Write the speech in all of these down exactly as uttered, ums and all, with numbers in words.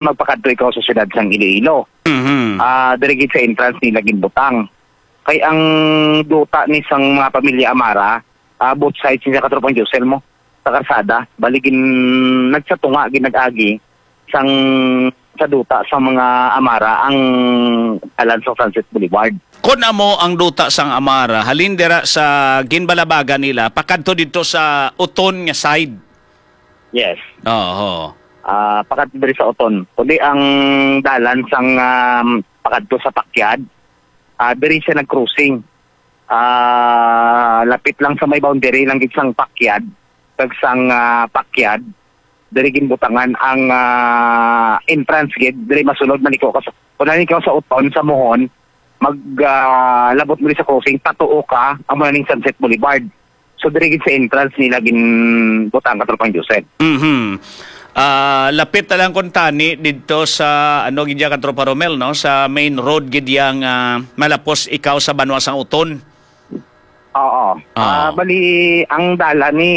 magpakadto ikaw sa siyudad sang Iloilo. Mhm. Ah, diri gid sa entrance nila ginbutang. Kay ang duta ni sang mga pamilya Amara, ah, both sides ni sa Katropang Josel mo, sa karsada. Bali gin-, nagsatunga, ginag-agi sang, sa duta sa mga Amara ang dalan sa Sunset Boulevard. Kon amo ang duta sang Amara, halin dira sa ginbalabagan nila, pakadto didto sa Uton nga side. Yes. Oo. Ah, pakadto diri sa Uton. Kundi ang dalan sang, um, pakadto sa Pakyad, ah, diri siya nag-crossing. Ah, lapit lang sa may boundary lang gid sang Pakyad, kag sang, ah, Pakyad, diri ginbutangan ang, ah, entrance gid, diri masulod man ikaw ka sa, kung nani ikaw sa Uton, sa Mohon, mag, ah, labot mo sa crossing, patuo ka, amo na ning Sunset Boulevard. So, diri gid sa entrance nila ginbutang, Katropang Joseph. Mhm. Ah, lapit na lang kuntani didto sa, ano, gid ya, Katropa Romel, no? Sa main road gid yang, ah, malapos ikaw sa banwa sang Uton. Oo. Ah. Ah, bali, ang dalan ni,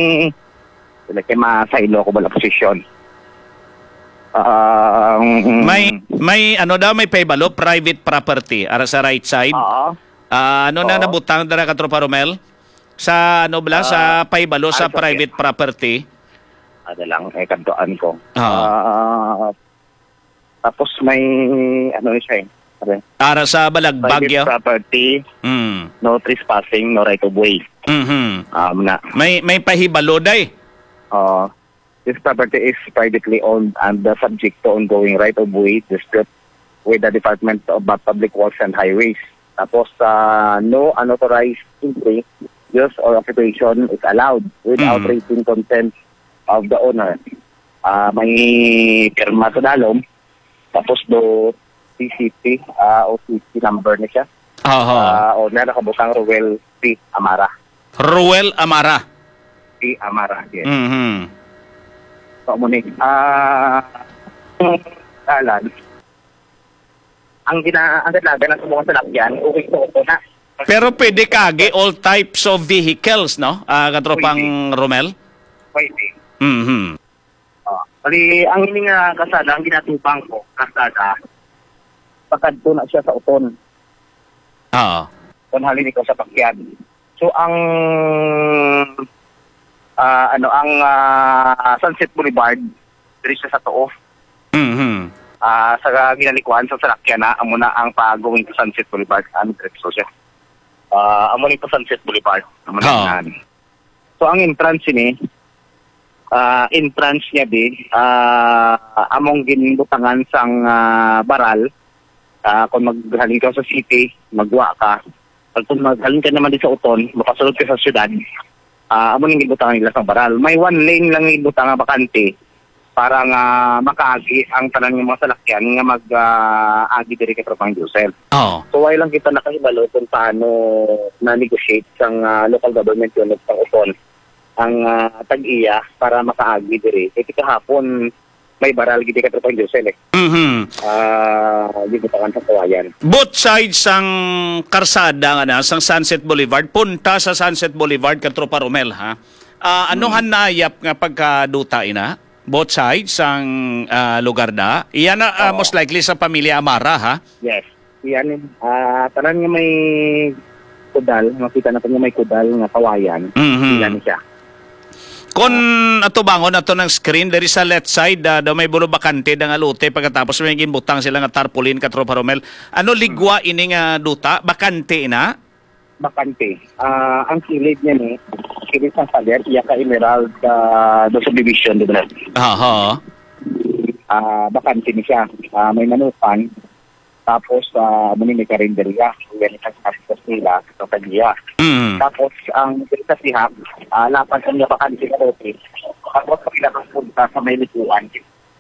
wala kay masaylo ko bala posisyon. Ah, ang May, may, ano daw, may pahibalo, private property, ara sa right side. Oo. Ah, ano na Oo. nabutang dira, Katropa Romel? Sa, ano bala, sa Ah, pahibalo sa ano sa private property? Ano lang, eh, kadtuan ko. Oo. Ah, tapos may, ano siya eh, pare? Ara sa Balagbag, Private ya? property, Mm. no trespassing, no right of way. Mhm. Um, na. May, may pahibalo, day? Oo. This property is privately owned and, uh, subject to ongoing right of way dispute with the Department of, uh, Public Works and Highways. Tapos, uh, no unauthorized entry, use, or occupation is allowed without Mm. written consent of the owner. Ah, may pirma sa dalom. Tapos do C C T, ah, o C C number na siya. Aha. Ah, owner, nakabutang Roel P. Amara. Roel Amara. P. Amara, yes. Mhm. So, amo ni, ah, dalan, ang gina-, ang dalagan ng mga salakyan, okay po ito na. Pero pwede kagi all types of vehicles, no? Ah, Katropang Pwede. Romel? Pwede. Mhm. Oh, bali, ang ini nga kasada, ang ginatubang ko, kasada, pakadto na siya sa Uton. Oo. Kung halin ikaw sa Pakyan. So, ang, ah, ano, ang, ah, Sunset Boulevard, diri siya sa tuo. Mhm. Ah, sa ginalikuan sa salakyan na, amo na ang pa-going to Sunset Boulevard, ang diretso siya. Ah, amo ni pa Sunset Boulevard, amo na Oo. yan. So, ang entrance ini, ah, entrance niya di, ah, among ginbutangan sang, ah, baral. Ah, kung maghalin ka sa city, magwa ka. Pag kung maghalin ka naman di sa Uton, makasulod ka sa syudad, ah, amo ning ginbutangan nila sang baral. May one lane lang ginbutangan bakante para nga makaagi ang tanan nga mga salakyan nga mag, ah, agi diri kay Tropang Joseph. Oo. So, wala lang kita nakahibalo kung paano na-negotiate sang, ah, local government unit sang Uton ang, ah, tag-iya para makaagi diri. Kay kahapon, may baral gid kay Tropang Joseph, eh. Mhm. Ah, ginbutangan sa kawayan. Both sides sang karsada nga na, sang Sunset Boulevard, punta sa Sunset Boulevard, Katropa Romel, ha? Ah, ano Mm. hanayap nga pagkaduta ina? Both sides sang, ah, lugar da? Iyan na, ah, Oo. most likely sa pamilya Amara, ha? Yes. Yan, eh. Ah, tanan nga may kudal, makita natin nga may kudal nga kawayan. Mhm. Yan siya. Kon Ah. atubangon nato ng screen, diri sa left side, ah, daw may bulo bakante da nga lote, pagkatapos may ginbutang sila nga tarpaulin, Katropa Romel. Ano ligwa Hmm. ini nga duta? Bakante na? Bakante. Ah, ang kilid niya ni, kilid sang pader, iya ka Emerald, ah, do subdivision, di ba? Aha. Ah, bakante ni siya. Ah, may manukan. Tapos, ah, amo ni may karinderya. Yan ang tapos nila sa tagiya. Mm. Tapos, ang sa siha, ah, lapad ang bakante na lote. Tapos, pag nakapunta sa may likuan,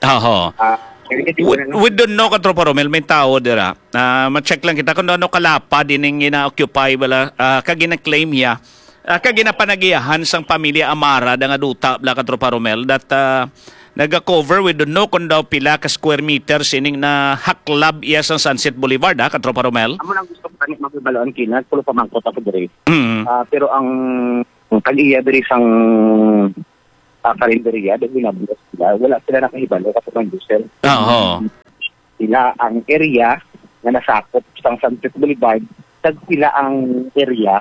Oho. Ah, We, we don't know, Katropa Romel, may tao dira. Ah, ma-check lang kita kung ano kalapad ining gina-occupy bala, ah, kag gina-claim hiya. Ah, kag ginapanagiyahan sang pamilya Amara da nga duta bala, Katropa Romel, that, ah, naga-cover, we don't know kung daw pila ka square meters ining nahaklab iya sang Sunset Boulevard, ha, Katropa Romel? Amo lang gusto ko tani makibaluan kina, pulo pamangkot ako diri. Mm. Ah, pero ang, ang tag-iya diri sang ah, karinderya, dahil nabulas sila. Wala sila nakahibalo, Katropa Josel. Oo. Sila ang area nga nasakop sang Sunset Boulevard, kag sila ang area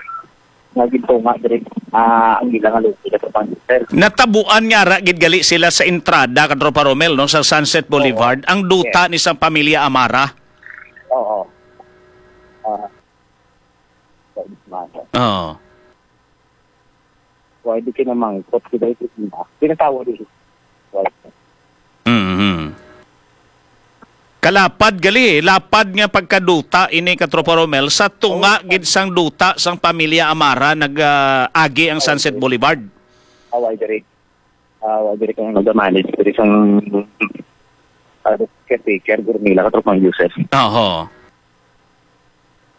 nga gintunga diri, ah, ang ila nga lote, Katropa Josel. Natabuan nga ara gid gali sila sa entrada, Katropa Romel, no, sa Sunset Oo. Boulevard, ang duta Yes. ni sang pamilya Amara. Oo. Ah, sa Ismata. Oo. Why di kinamangkot si Dai Kusina? Pinatawa din. Why? Mhm. Kalapad gali, eh. Lapad nga pagkaduta ini, Katropa Romel, sa tunga Oo. gid sang duta sang pamilya Amara nag, ah, agi ang Sunset Boulevard. Away diri. Ah, wa diri kang nagamanage diri sang, ah, caretaker, Gurnila, Katropang Joseph. Oho.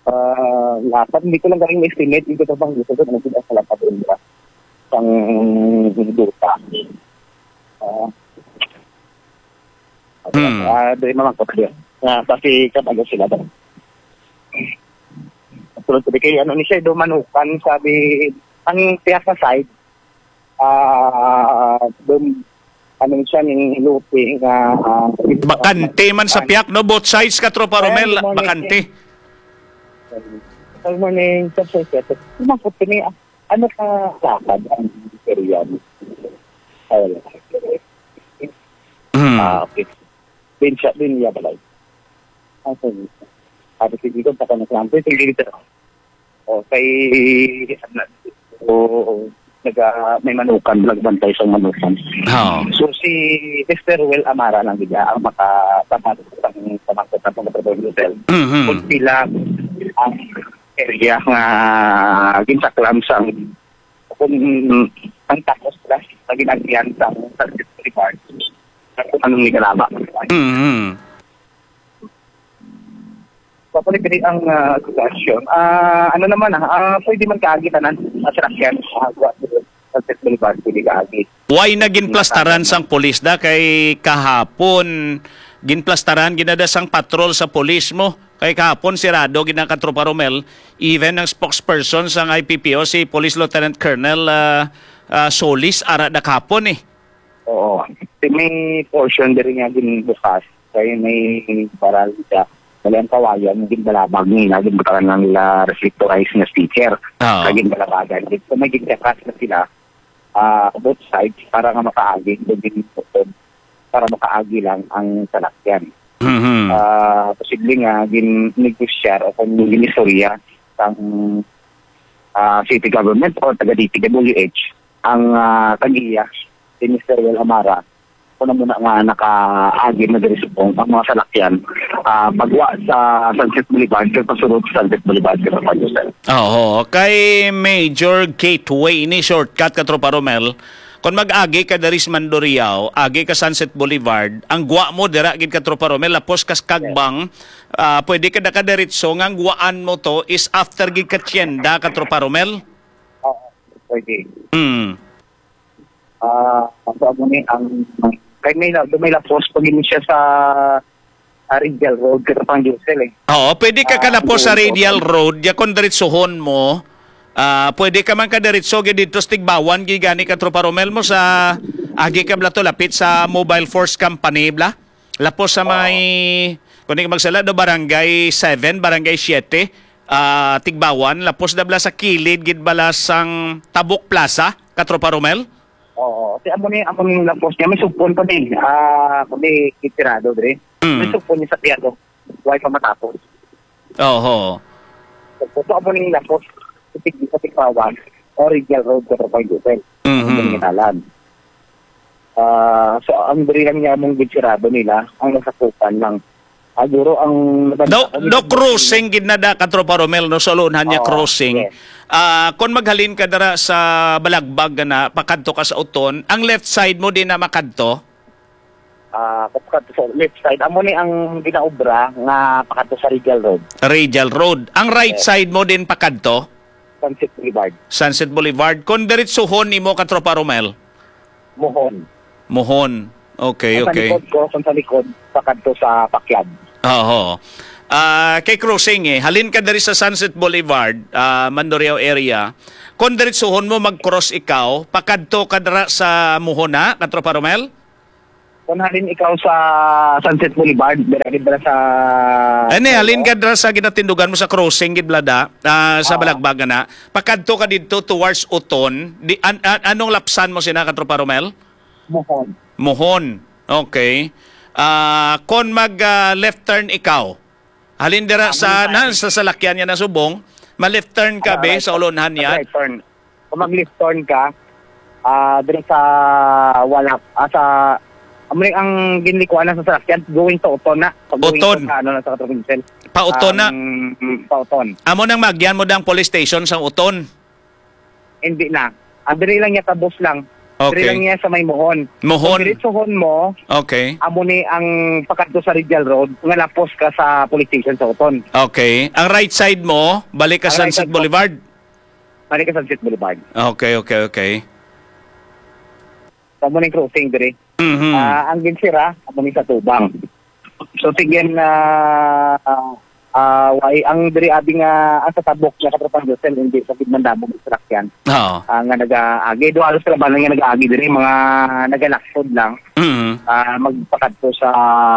Ah, lapad, hindi ko lang galing ma-estimate, hindi ko pang gusto ko, ano sila sa lapad rin ba? Sang duta. Ah, Hmm. ah, diri naman ko diri. Ah, kasi kabago sila ba? Tulad ko di kay ano ni siya, do manukan, sabi, ang tiyak na side, ah, dum-, ano siya, ning lote nga, ah, Bakante man sa piyak, no? Both sides, Katropa Romel, Good morning. Bakante. Good morning, Sir Sir. Kumakot kami, ah, ano ka lakad ang area mo? Ay, wala. Hmm. Ah, okay. Din siya, din niya balay. Ah, sige. Sabi, sige, kung pa ka na-, sige, dito. O, kay, ano, o, naga-, may manukan, nagbantay sa manukan. Oo. So, si Mister Well Amara lang gid ang makasabat sa, sa mga sa mga hotel. Mhm. Kung sila ang area nga ginsaklan sa, kung ang tapos sila sa ginagyan sa, sa Boulevard, kung anong nikalaba. Mhm. Papalit diri ang, ah, sitwasyon. Ah, ano naman, ah, ah, pwede man kaagi tanan, ah, sasakyan, ah, wa-, Sunset Boulevard, pwede kaagi. Why na ginplastaran sang pulis da kay kahapon ginplastaran gid na da sang patrol sa pulis mo? Kay kahapon sirado gid na, Katropa Romel, even ang spokesperson sang I P P O, si Police Lieutenant Colonel, ah, ah, Solis, ara da kahapon, eh. Oo. May portion diri nga ginbukas. Kay may baral siya. Bali ang kawayan, ginbalabag nila, ginbutangan lang nila reflectorized nga sticker. Oo. Kag ginbalabagan. So, may ginkakas na sila, ah, both sides para nga makaagi, kung ginbuton, para makaagi lang ang salakyan. Mhm. Ah, posible nga gin-negosyar o kung ginistorya sang, ah, city government o taga D P W H ang, ah, tag-iya si Mister Well Amara. Kung ano muna nga nakaagi na diri subong ang mga salakyan, ah, pagwa sa Sunset Boulevard kag pasulod sa Sunset Boulevard, kag sa Panyusel. Oo, kay major gateway ini, shortcut, Katropa Romel. Kung mag-agi ka diri sa Mandurriao, agi ka Sunset Boulevard, ang gwa mo dira gid, Katropa Romel, lapos kas Kagbang, ah, pwede ka nakadiretso nga ang gwaan mo to is after gid ka Tienda, Katropa Romel. Oo, pwede. Hmm. Ah, ang tawag mo ni, ang, kay may la-, may lapos pag yun siya sa, ah, Radial Road, Katropang Josel, eh. Oo, pwede ka Ah, kalapos sa doon, Radial oo. Road, ya kung diretsohon mo, ah, pwede ka man ka diretso gid dito sa Tigbawan, gid gani, Katropa Romel, mo sa agi ka bla to, lapit sa Mobile Force Company, bla? Lapos sa Oo. may, kung di ka magsala, do, Barangay seven, Barangay siete, ah, Tigbawan, lapos na bala sa kilid gid bala sang Tabuk Plaza, Katropa Romel? Oo. Si amo ni, amo ni lapos niya, may supon pa din. Ah, kami kitirado diri. Mm. May supon niya sa piyado. Why pa matapos? Oho. So, amo ni lapos sa Tig-, sa Tigbawan, Original Road, Katropa Josel. Mhm. Ang gintalan. Ah, so, ang diri lang niya mong gitsirado nila, ang nasakupan lang. Ah, guro ang Do, natanda ko, do may crossing gid na da, Katropa Romel, no? Sa Lunhan niya Oo, crossing. Yes. Ah, kung maghalin ka dara sa Balagbag na pakadto ka sa Uton, ang left side mo din na makadto? Ah, pakadto sa left side. Amo ni ang ginaobra nga pakadto sa Radial Road. Radial Road. Ang right Yes. side mo din pakadto? Sunset Boulevard. Sunset Boulevard. Kung diretsuhon nimo, Katropa Romel? Mohon. Mohon. Okay, Ang sa okay. likod ko, kung sa likod, pakadto sa Pakyad. Oo. Ah, kay crossing eh. Halin ka diri sa Sunset Boulevard, ah, Mandurriao area. Kung diretsuhon mo, mag-cross ikaw, pakadto ka dira sa Muhon na, Katropa Romel? Kung halin ikaw sa Sunset Boulevard, dira, dira sa Ani, halin ka dira sa ginatindugan mo sa crossing, gid, Blada, ah, sa Oo. Balagbag na. Pakadto ka didto towards Uton. Di, an-, an-, anong lapsan mo sina, Katropa Romel? Muhon. Muhon. Okay. Ah, kon mag, ah, left turn ikaw, halin dira Amo sa, ni na, Mari. Sa salakyan niya na subong, ma-left turn ka, Ah, be, right sa turn. Ulonhan niya. Right turn. Kung mag-left turn ka, ah, diri sa wala, ah, sa, amo ni ang ginlikuan na sa salakyan, going to Uton na. Pag going Uton. To sa, ano na, sa Katropinsel. Pa Uton na. Ang, mm, pa Uton. Amo nang magyan mo dang police station sa Uton. Hindi na. Ah, diri lang niya, tabos lang. Okay. Diri lang niya sa may Mohon. Mohon. Kung diretsuhon mo, Okay. Amo ni ang pakadto sa Radial Road, nga lapos ka sa police station sa Uton. Okay. Ang right side mo, balik ka Ang right Sunset side mo, Boulevard. Balik ka Sunset Boulevard. Okay, okay, okay. Sa mo ning crossing diri. Mhm. Ah, ang ginsira, amo ni sa Tubang. So, sige na, ah, ah, why, ang diri abi nga, ang sa tabok nga Katropang Josel, hindi sa gid man damo ang salakyan. Oo. Ah, nga nagaagi, duha halos kalabanan nga nagaagi diri, mga nagalaksod lang. Mhm. Ah, magpakadto sa,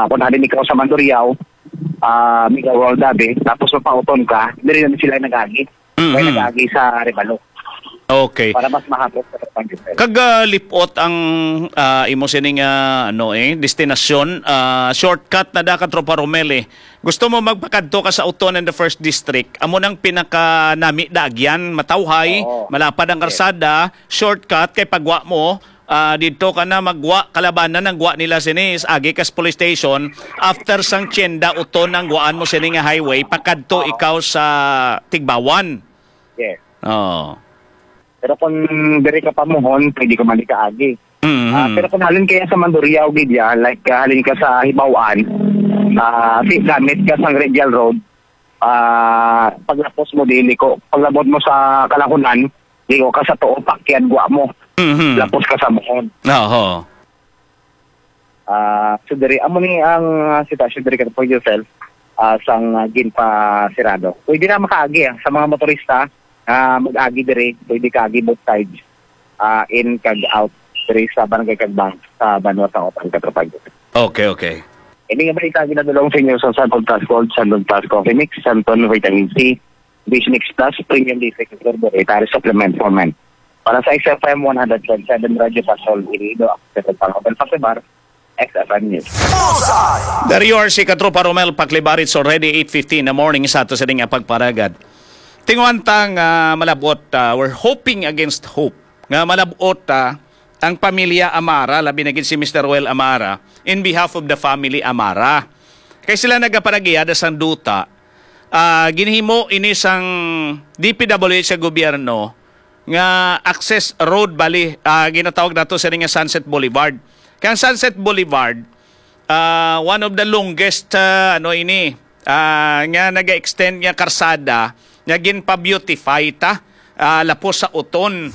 kung halin ikaw sa Mandurriao, ah, Mega World abi, tapos mapauton ka, diri na sila nagaagi. Mhm. Kaya nagaagi sa Rebalo. Okay. Para mas mahapos sa Katropang Josel. Kag, ah, lipot ang, ah, imo sining, ah, ano, eh, destinasyon, ah, shortcut na da, Katropa Romel, eh. Gusto mo magpakadto ka sa Uton in the first district, amo nang pinakanami daagyan, matawhay, Oo. Malapad ang Yes. Karsada, shortcut kay pagwa mo, ah, didto ka na magwa, kalabanan ang gwa nila sini is agi kas police station, after sang Tienda Uton ang gwaan mo sini nga highway, pakadto Oo. Ikaw sa Tigbawan. Yes. Oo. Pero kung diri ka pa Mohon, pwede ka man ikaagi. Mhm. Ah, pero kung halin kaya sa Mandurriao gid ya, like, ah, halin ka sa Hibaw-an, ah, si gamit ka sang Radial Road, ah, paglapos mo dili ko, paglabot mo sa Kalahunan, di ko ka sa tuo, pakyad gwa mo. Mhm. Lapos ka sa Mohon. Oho. Ah, so diri, amo ni ang, ah, sitwasyon diri, Katropang Josel, ah, sang, ah, ginpasirado. Pwede na makaagi, ah, sa mga motorista, ah, mag-agi diri, pwede kaagi both sides, ah, in kag out diri sa Barangay Kagbang, sa Banwa sa Uton, Katropang Josel. Okay, okay. Ini nga balita ginadulong sa inyo sa Santon Plus Gold, Santon Plus Coffee Mix, Santon Vitamin C, Vision X Plus, Premium D six Turbo, Dietary Supplement for Men. Para sa X F M one hundred point seven Radyo Pasol, Iloilo, ako si Pang Obel Pakibar, X F M News. Dario R C, Katropa Romel Paklibar, it's already eight fifteen in the morning sa ato sa nga pagparagad. Tinguhan ta nga malabot, ah, we're hoping against hope nga malabot, ah, ang pamilya Amara, labi na gid si Mister Roel Amara, in behalf of the family Amara. Kay sila nagapanagiyada sang duta, ah, ginhimo ini sang D P W H sa gobyerno nga access road, bali, ah, ginatawag nato sini nga Sunset Boulevard. Kay ang Sunset Boulevard, ah, one of the longest, ah, ano ini, ah, nga naga-extend nga karsada nga ginpa-beautify ta, ah, lapos sa Uton.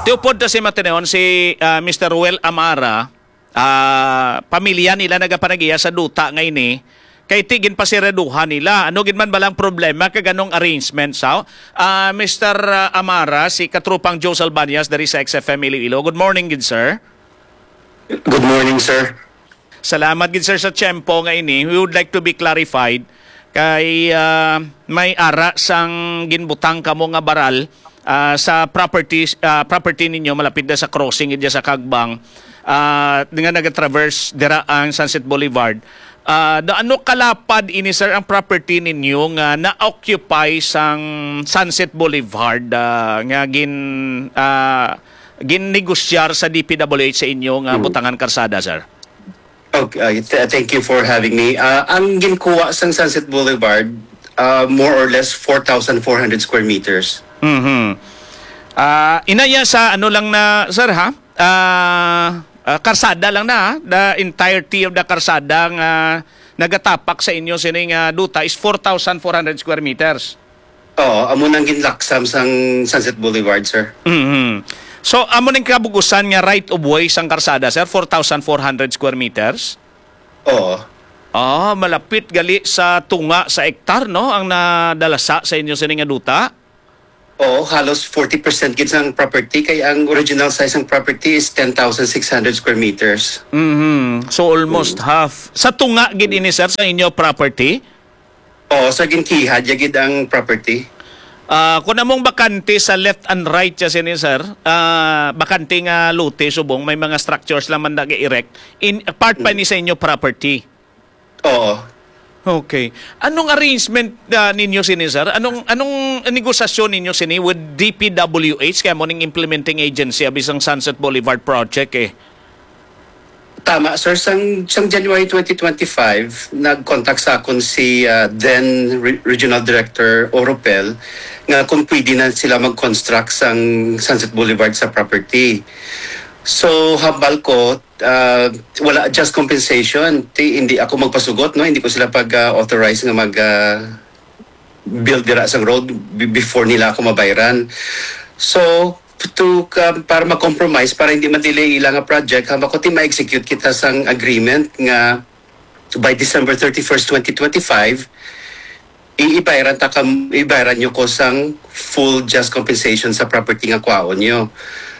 Tiupod ta si Mateneon, si, ah, Mister Ruel Amara, ah, pamilya nila nagapanagiya sa duta nga ini, kay ti ginpasiraduhan nila. Ano gid man balang problema kag anong arrangement sa, ah, Mister Amara, si Katrupang Joe Salbañas diri sa X F M Iloilo? Good morning gid, sir. Good morning, sir. Salamat gid, sir, sa tiyempo nga ini. We would like to be clarified kay, ah, may ara sang ginbutang kamo nga baral, ah, sa properties, ah, property ninyo malapit na sa crossing gid sa Kagbang, ah, nga nagatraverse dira ang Sunset Boulevard. Ah, da, ano kalapad ini, sir, ang property ninyo nga na-occupy sang Sunset Boulevard, ah, nga gin, ah, ginnegosyar sa D P W H sa inyo nga Hmm. butangan karsada, sir? Okay, uh, th-, thank you for having me. Uh, ang ginkuha sang Sunset Boulevard, uh, more or less four thousand four hundred square meters. Mhm. Ah, inaya sa ano lang na, sir, ha? Ah, ah, karsada lang na, ha? The entirety of the karsada nga nagatapak sa inyo sining, ah, duta is four thousand four hundred square meters. Oo, amo nang ginlaksam sang Sunset Boulevard, sir. Mhm. So, amo ning kabug-usan nga right of way sang karsada, sir, four thousand four hundred square meters? Oo. Ah, malapit gali sa tunga sa ektar, no, ang nadalasa sa inyo sini nga duta? Oo, halos forty percent gid sang property, kay ang original size ng property is ten thousand six hundred square meters. Mhm. So almost half. Sa tunga gid ini, sir, sa inyo property? Oo, sa ginkihad ya gid ang property. Ah, kung among bakante sa left and right siya sini, sir, ah, bakante nga lote subong may mga structures lang man nag-erect, in part pa ni sa inyo property. Oo. Okay. Anong arrangement ah, ninyo sini, sir? Anong anong negosasyon ninyo sini with D P W H, kaya mo ning implementing agency abi sang Sunset Boulevard project eh? Tama, sir. Sang, sang January twenty twenty-five, nag-contact sa akon si ah, then Re- Regional Director Oropel nga kung pwede na sila mag-construct sang Sunset Boulevard sa property. So, hambal ko, ah, wala just compensation. Ti, hindi ako magpasugot, no? Hindi ko sila pag-authorize nga mag ah, build dira sang road be- before nila ako mabayran. So, to ka, para ma-compromise, para hindi ma-delay ila nga project, hambal ko ti ma-execute kita sang agreement nga by December thirty-first, twenty twenty-five, iibayran ta kam ibayran nyo ko sang full just compensation sa property nga kwaon nyo.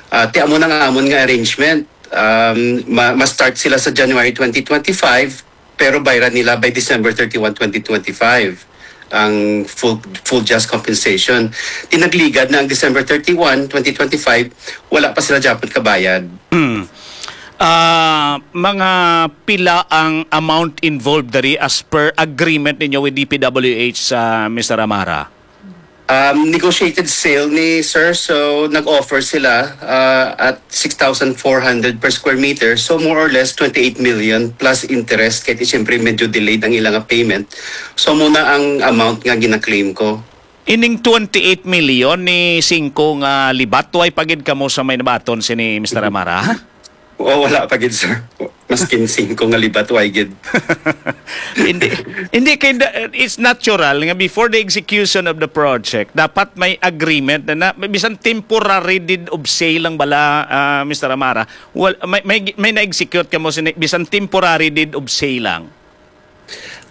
Ah, ti amo na nga amon nga arrangement. Um, ma- ma-start sila sa January twenty twenty-five, pero bayran nila by December thirty-one, twenty twenty-five ang full full just compensation. Tinagligad na ang December thirty-one, twenty twenty-five, wala pa sila dapat kabayad. Hmm. Ah, mga pila ang amount involved diri as per agreement ninyo with D P W H, ah, Mister Amara? Um, negotiated sale ni sir, so nag-offer sila uh, at six thousand four hundred per square meter, so more or less twenty-eight million plus interest, kay siyempre medyo delayed ang ilang payment. So muna ang amount nga gina-claim ko. Ining twenty-eight million ni singko nga libat, way pa gid kamo sa may nabaton sini Mister Amara? O, wala pa gid, sir. Maskin singko nga libat, way gid. Hindi, hindi kay da- it's natural nga before the execution of the project dapat may agreement na, na bisan temporary deed of sale lang bala, ah, Mister Amara. Wal, may, may, may na-execute kamo sini bisan temporary deed of sale lang.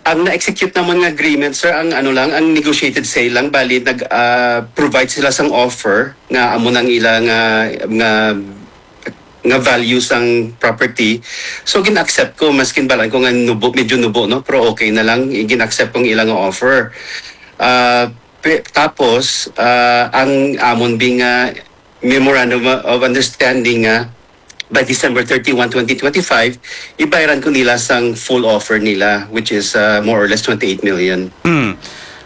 Ang na-execute naman nga agreement, sir, ang ano lang, ang negotiated sale lang, bali nag ah, provide sila sang offer nga amo nang ila nga nga nga value sang property. So gin-accept ko, maskin balan ko nga nubo, medyo nubo, no, pero okay na lang, gin-accept kong ila nga offer. Ah, pe- tapos ah, ang amon bing nga memorandum of understanding nga by December thirty-one, twenty twenty-five, ibayran ko nila sang full offer nila, which is uh, more or less twenty-eight million. Hmm.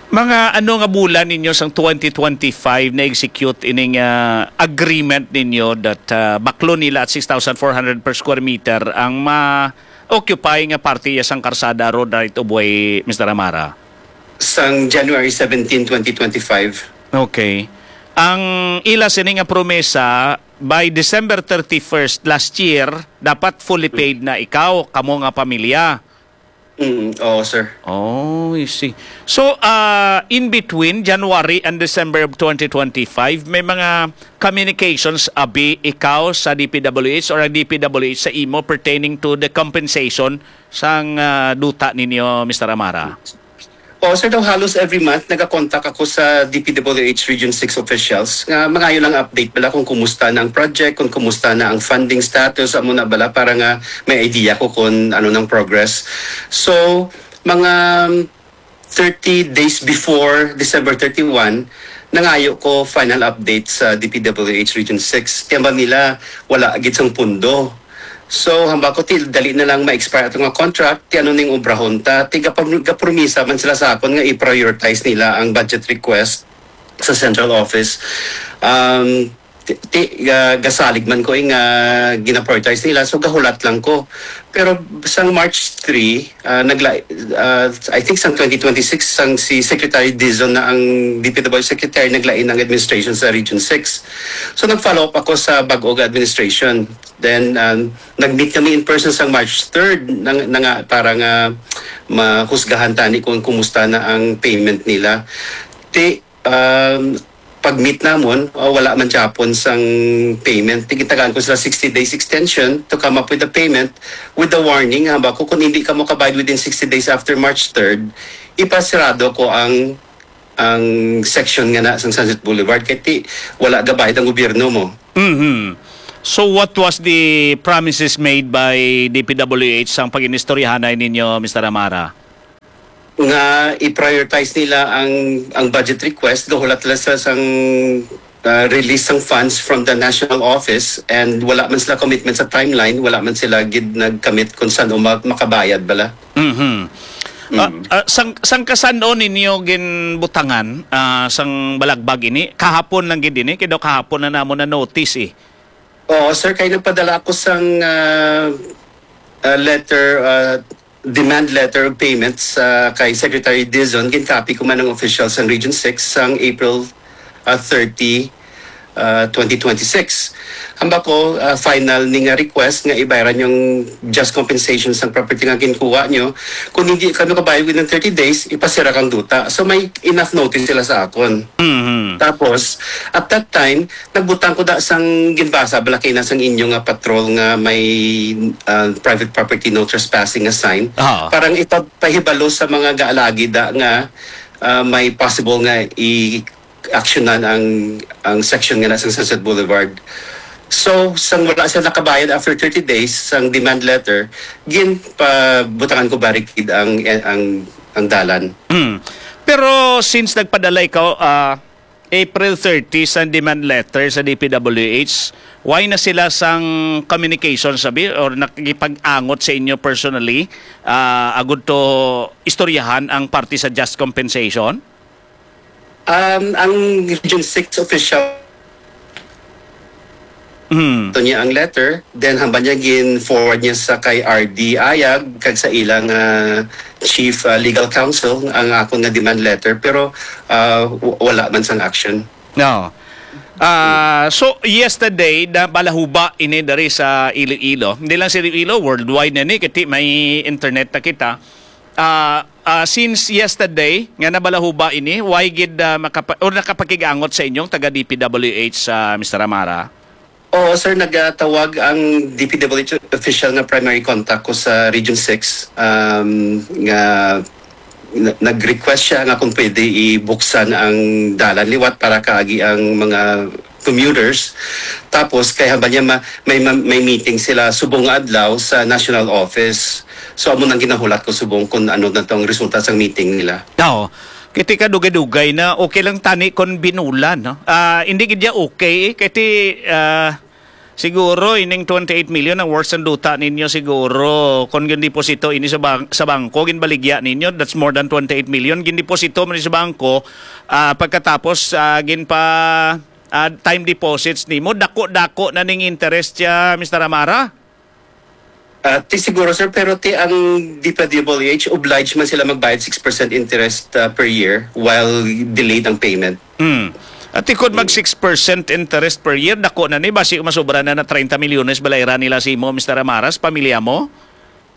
Mga ano nga bulan ninyo sang twenty twenty-five na-execute ining ah, agreement ninyo that ah, baklo nila at six thousand four hundred per square meter ang ma-occupy nga parte ya sang Karsada Road Right of Way, Mister Amara? Sang January seventeen, twenty twenty-five. Okay. Ang ila sini nga promesa, by December thirty-first last year, dapat fully paid na ikaw, kamo nga pamilya. Mm, oo, sir. Oh, I see. So, uh, in between January and December of twenty twenty-five, may mga communications abi ikaw sa D P W H or ang D P W H sa imo pertaining to the compensation sang uh, duta ninyo, Mister Amara? Oo, sir, daw halos every month nagakontak ako sa D P W H Region six officials nga mangayo lang update bala kung kumusta na ang project, kung kumusta na ang funding status, amo na bala para nga may idea ko kung ano nang progress. So, mga um, thirty days before December thirty-one, nangayo ko final update sa D P W H Region six. Tiyambal nila, wala gid sang pundo. So, hamba ko, til, dali na lang ma-expire ato nga contract, ti ano ning obrahon ta, ti gapam- gapromisa man sila sa akon nga i-prioritize nila ang budget request sa central office. Um, ti, ti, ga- gasalig man ko eh, nga gina-prioritize nila, so gahulat lang ko. Pero sang March three, ah, nagla, ah, I think sang twenty twenty-six, sang si Secretary Dizon na ang D P W Secretary, naglain ang administration sa Region six. So nag-follow up ako sa bag-o nga administration. Then um, nag-meet kami in person sang March third na, na nga para nga mahusgahan tani kung kumusta na ang payment nila. Ti um, pag-meet namon, uh, wala man gyapon sang payment. Ti gitagaan ko sila sixty days extension to come up with the payment, with the warning, hamba ko, kung hindi ka mo kabayad within sixty days after March third, ipasirado ko ang ang section nga na sang Sunset Boulevard, kay ti wala gabayad ang gobyerno mo. Mhm. So what was the promises made by D P W H sang pag-inistoryahanay ninyo, Mister Amara? Nga i-prioritize nila ang ang budget request, gahulat sila sa sang, ah, release sang funds from the national office, and wala man sila commitment sa timeline, wala man sila gid nag-commit kung san-o ma-, makabayad bala. Mhm. Ah, Mm. ah, sang, sang kasan-o ninyo ginbutangan, ah, sang balagbag ini? Kahapon lang gid ini, kay daw kahapon na namo na notice eh. Oo, sir, kay nagpadala ako sang, ah, ah, letter, ah, demand letter of payments, ah, kay Secretary Dizon, ginkopy ko man ang official sang Region six sang April, ah, thirty, ah, twenty twenty-six. Hamba ko, ah, final ni nga request nga ibayran yung just compensation sang property nga ginkuha nyo. Kung hindi kami kabayad within thirty days, ipasira kang duta. So may enough notice sila sa akon. Mhm. Tapos, at that time, nagbutang ko da sang ginbasa, balakay na sang inyo nga patrol nga may, ah, private property no trespassing nga sign. Ah. Parang ipapahibalo sa mga gaalagi da nga, ah, may possible nga i-actionan ang, ang section nga na sa Sunset Boulevard. So, sang wala sila nakabayad after thirty days sang demand letter, ginpabutangan ko barricade ang, ang, ang dalan. Mm. Pero since nagpadala ikaw, ah, April thirty sa demand letter sa D P W H, why na sila sang communication, sabi, or nakikipag-angot sa inyo personally, ah, agud to istoryahan ang parte sa just compensation? Um, ang Region six official Hmm. to niya ang letter, then hamba niya gin-forward niya sa kay R D Ayag kag sa ilang, ah, chief, ah, legal counsel ang akon nga demand letter, pero, ah, w-, wala man sang action. No. Ah, so yesterday na balahuba ini dari sa Iloilo. Hindi lang sa Iloilo, worldwide na ni, kay ti may internet na kita. Ah, ah, since yesterday nga nabalahuba ini, why gid, ah, makapa-, or nakapakig-angot sa inyong taga D P W H, ah, Mister Amara? Oo, sir, nagatawag ang D P W H official nga primary contact ko sa Region six, um, nga na-, nag-request siya nga kung pwede ibuksan ang dalan liwat para kaagi ang mga commuters. Tapos, kay haba niya ma-, may, ma-, may meeting sila subong nga adlaw sa national office. So, amo nang ginahulat ko subong kung ano na tong resulta sang meeting nila. Oo. Kay ti kadugay-dugay na, okay lang tani kon binulan, no? Ah, hindi gid ya okay, eh. Kay ti, ah, siguro ining twenty-eight million ang worth sang duta ninyo siguro. Kon gindeposito ini sa bang-, sa bangko, ginbaligya ninyo, that's more than twenty-eight million. Gindeposito man ni sa bangko, ah, pagkatapos, ah, ginpa, ah, time deposits nimo, dako-dako na ning interest siya, Mister Amara? Ah, ti siguro, sir, pero ti ang D P W H, obliged man sila magbayad six percent interest, ah, per year while delayed ang payment. Hmm. At ti kon mag six percent interest per year, dako na ni, basi masobra na na treinta milyones balayran nila sa imo, Mister Amaras, pamilya mo?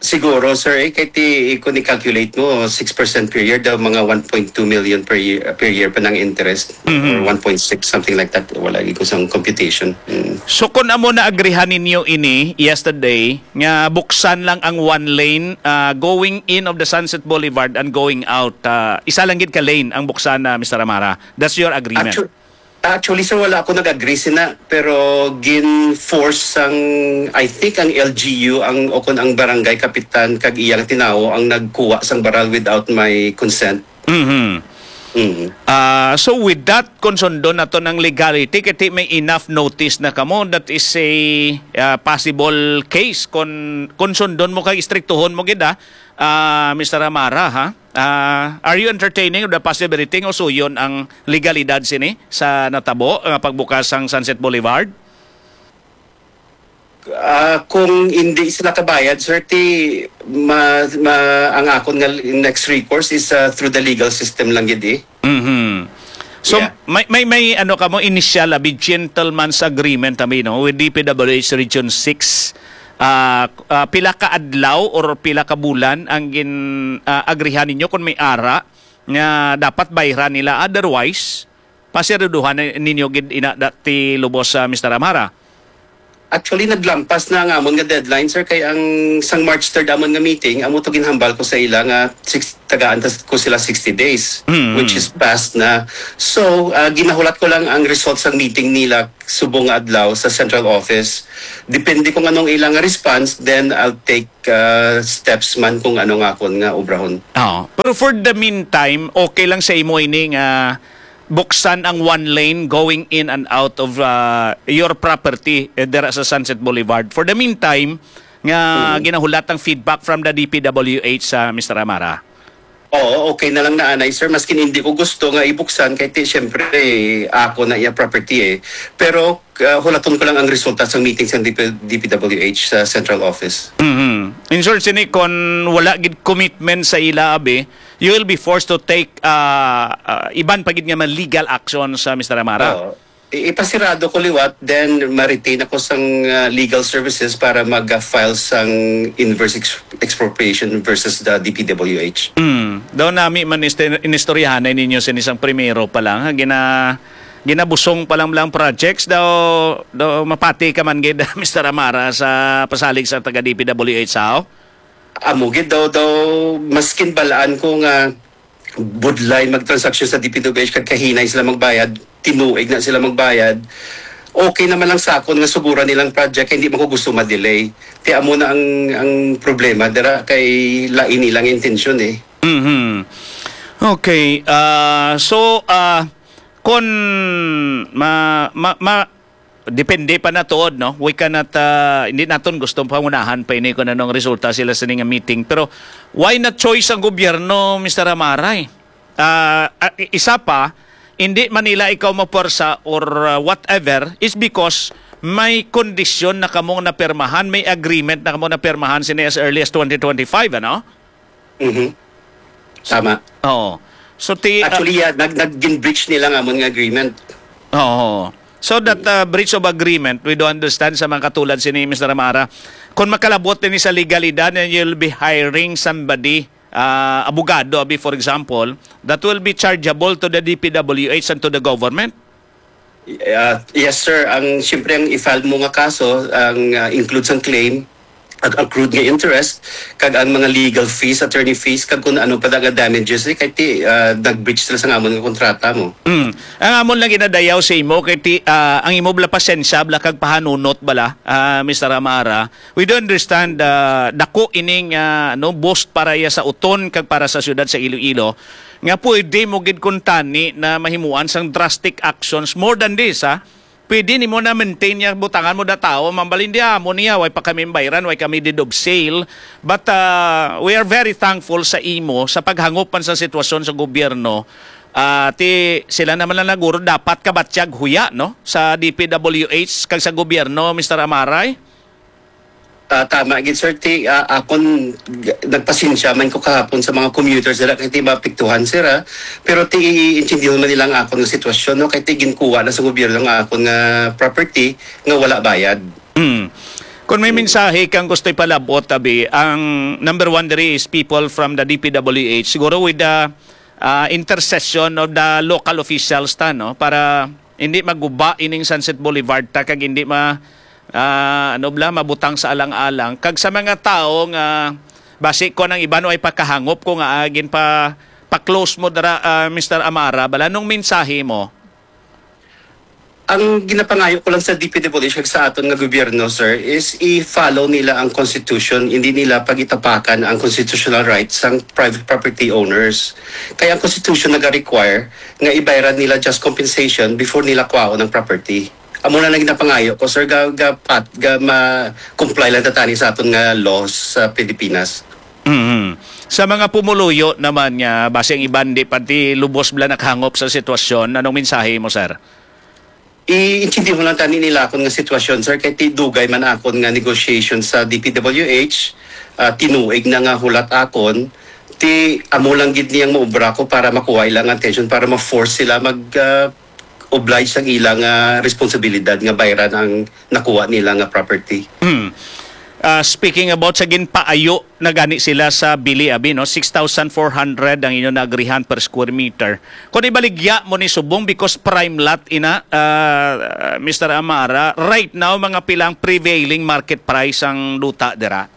Siguro, sir, eh, kay ti, kung i-calculate mo, six percent per year, daw mga one point two million per year, per year pa ng interest, Mhm. or one point six, something like that. Wala ko sang computation. Mm. So, kung amo na agrihan ninyo ini yesterday, nga buksan lang ang one lane, ah, going in of the Sunset Boulevard and going out, ah, isa lang gid ka lane ang buksan na, Mister Amara. That's your agreement. Actu-, actually, sir, wala ako nag-agree sina, pero gin-force sang, I think, ang L G U, ang, o kon ang barangay kapitan, kag iyang tinawo ang nagkuha sang baral without my consent. Mhm. Mm. Ah, so with that, kung sundon naton ang legality, kay ti may enough notice na kamo, that is a, ah, possible case. Kung, kung sundon mo kag istriktuhon mo gid, ah, ah, Mister Amara, ha? Ah, are you entertaining of the possibility nga usuyon ang legalidad sini sa natabo nga pagbukas sang Sunset Boulevard? Ah, kung hindi sila kabayad, sir, ti ma-, ma-, ang akon nga next recourse is, ah, through the legal system lang gid, eh. Mhm. So, Yeah. may, may, may ano kamo, initial, abi, gentleman's agreement, abi, no, with D P W H Region six. Ah, ah, pila ka adlaw or pila ka bulan ang gin, ah, agrihan ninyo kung may ara nga dapat bayran nila? Otherwise, pasiraduhan na ninyo gid ina dati lubos sa Mister Amara. Actually, naglampas na ang amon nga deadline, sir, kay ang sang March third amon nga meeting, amo to ginhambal ko sa ila nga six, tagaan ta ko sila sixty days, Mm. which is past na. So, ah, ginahulat ko lang ang result sang meeting nila subong nga adlaw sa central office. Depende kung anong ilang response, then I'll take, ah, steps man kung ano nga akon nga obrahon. Oo. Pero for the meantime, okay lang sa imo ini nga buksan ang one lane going in and out of, ah, your property, eh, dira sa Sunset Boulevard. For the meantime, nga Mm. ginahulat ang feedback from the D P W H sa Mister Amara. Oo, okay na lang na anay, sir. Maskin hindi ko gusto nga ibuksan, kay ti, siyempre, ako na iya property eh. Pero, ah, hulaton ko lang ang resulta sa meeting sa D P, D P W H sa central office. Mhm. In short, sini, kon wala gid commitment sa ila, abi, you will be forced to take, ah, ah, iban pa gid nga mga legal action sa Mister Amara. Oo. I-, ipasirado ko liwat, then ma-retain ako sang, ah, legal services para mag-file sang inverse ex-, expropriation versus the D P W H. Mm. Daw nami man iste-, inistoryahanay ninyo sini sang primero pa lang, ha? Gina-, ginabusong pa lang, lang projects daw, daw mapati ka man gid, Mister Amara, sa pasalig sa taga D P W H, sao? Amo gid daw, daw maskin balaan ko nga budlay magtransaksyon sa D P W H kag kahinay sila magbayad, tinuig na sila magbayad. Okay naman lang sa akon nga suguran nilang project, kay hindi man ko gusto ma-delay. Kaya amo na ang, ang problema dira kay lain nilang intensyon eh. Mhm. Okay. Ah, so, ah, kon ma, ma, ma, depende pa na tuod, no? We cannot, ah, hindi naton gusto pangunahan pa ini kung anong resulta sila sa ning meeting. Pero why not choice ang gobyerno, Mister Amaray? Ah, ah, i-, isa pa, hindi man nila ikaw mapuwersa or, ah, whatever, is because may kondisyon na kamong napirmahan, may agreement na kamong napirmahan sini as early as twenty twenty-five, ano? Mhm. Tama. Oo. So, ti-, ah, Actually, yeah, nag-, nag-breach nila nga amon nga agreement. Oo. So that, uh, breach of agreement, we do understand sa mga katulad sini, Mister Amara, kung makalabot ini sa legalidad and you'll be hiring somebody, uh, abogado, abi, for example, that will be chargeable to the D P W H and to the government. Uh, yes, sir. Ang, siyempre, ang i-file mo nga kaso, ang, uh, include sang claim, ag-, accrued nga interest, kag ang mga legal fees, attorney fees, kag kung ano pa nga damages, eh, kay ti, ah, nag-breach sila sa amon nga kontrata mo. Mm. Ang amon lang ginadayaw sa imo, kay ti, ah, ang imo bala pasensya, bala kag pahanunot bala, ah, Mister Amara. We do understand, ah, dako ining, ah, no, boost para iya sa uton kag para sa siyudad sa Iloilo, nga pwede mo gid kuntani na mahimuan sang drastic actions more than this, ha? Pwede nimo na maintain niya, butangan mo da tawo, mambalindiha mo niya, way pa kami bayran, way kami deed of sale. But, uh, we are very thankful sa imo sa paghangop man sa sitwasyon sa gobyerno. Ah, ti sila naman lang naguro dapat kabatyag huya, no, sa D P W H kag sa gobyerno, Mister Amaray. Ah, tama gid, sir. Ti, ah, akon, g-, nagpasensya man ko kahapon sa mga commuters dira kay ti maapektuhan sila. Pero ti, iintindihon man nila ang akon nga sitwasyon, no? Kay ti ginkuha na sa gobyerno nga akon nga property nga wala bayad. Mm. Kung may Mm. mensahe kang gusto ipalabot, abi, ang number one diri is people from the D P W H. Siguro with the, ah, intercession of the local officials ta, no? Para hindi maguba ining Sunset Boulevard ta kag hindi ma-, ah, ano bala, mabutang sa alang-alang. Kag sa mga tawo nga basi kon ang iban way pakahangop ko nga, ah, ginpa-, pa-close mo dira, ah, Mister Amara, bala, anong mensahe mo? Ang ginapangayo ko lang sa D P W H kag sa aton nga gobyerno, sir, is i-follow nila ang constitution, hindi nila pagitapakan ang constitutional rights sang private property owners. Kaya ang constitution naga-require nga ibayran nila just compensation before nila kwaon ang property. Amo na lang ginapangayo ko, sir, ga, ga, pat, ga ma-comply lang ta tani sa aton nga laws sa Pilipinas. Mhm. Sa mga pumuluyo naman nga basi ang iban di pa ti lubos bala nakahangop sa sitwasyon, anong mensahe mo, sir? Iintindi mo lang tani nila akon nga sitwasyon, sir, kay ti dugay man akon nga negotiation sa D P W H, ah, tinuig na nga hulat akon, ti amo lang gid niyang maubra ko para makuha ila nga attention, para ma-force sila mag, ah, oblige sang ila nga responsibilidad nga bayran ang nakuha nila nga property. Hmm. Ah, speaking about sa ginpaayo na gani sila sa bili, abi, no? Six thousand four hundred ang inyo naagrihan per square meter. Kung ibaligya mo ni subong, because prime lot ina, ah, Mister Amara, right now, mga pilang prevailing market price ang duta dira?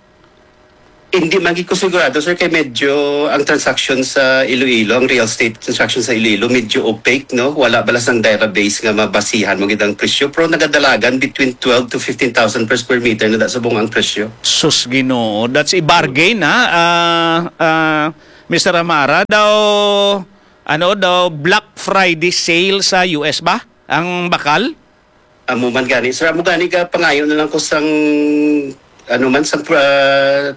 Hindi man gid ko sigurado, sir, kay medyo ang transaction sa Iloilo, ang real estate transaction sa Iloilo, medyo opaque, no? Wala bala sang database nga mabasihan mo gid ang presyo, pero nagadalagan between twelve to fifteen thousand per square meter na da subong ang presyo. Sus, Ginoo, that's a bargain, ha? Ah, ah, Mister Amara, daw, ano daw, Black Friday sale sa U S ba? Ang bakal? Amo man gani, sir. Amo gani ka pangayo na lang ko sang, ano man, sang, ah,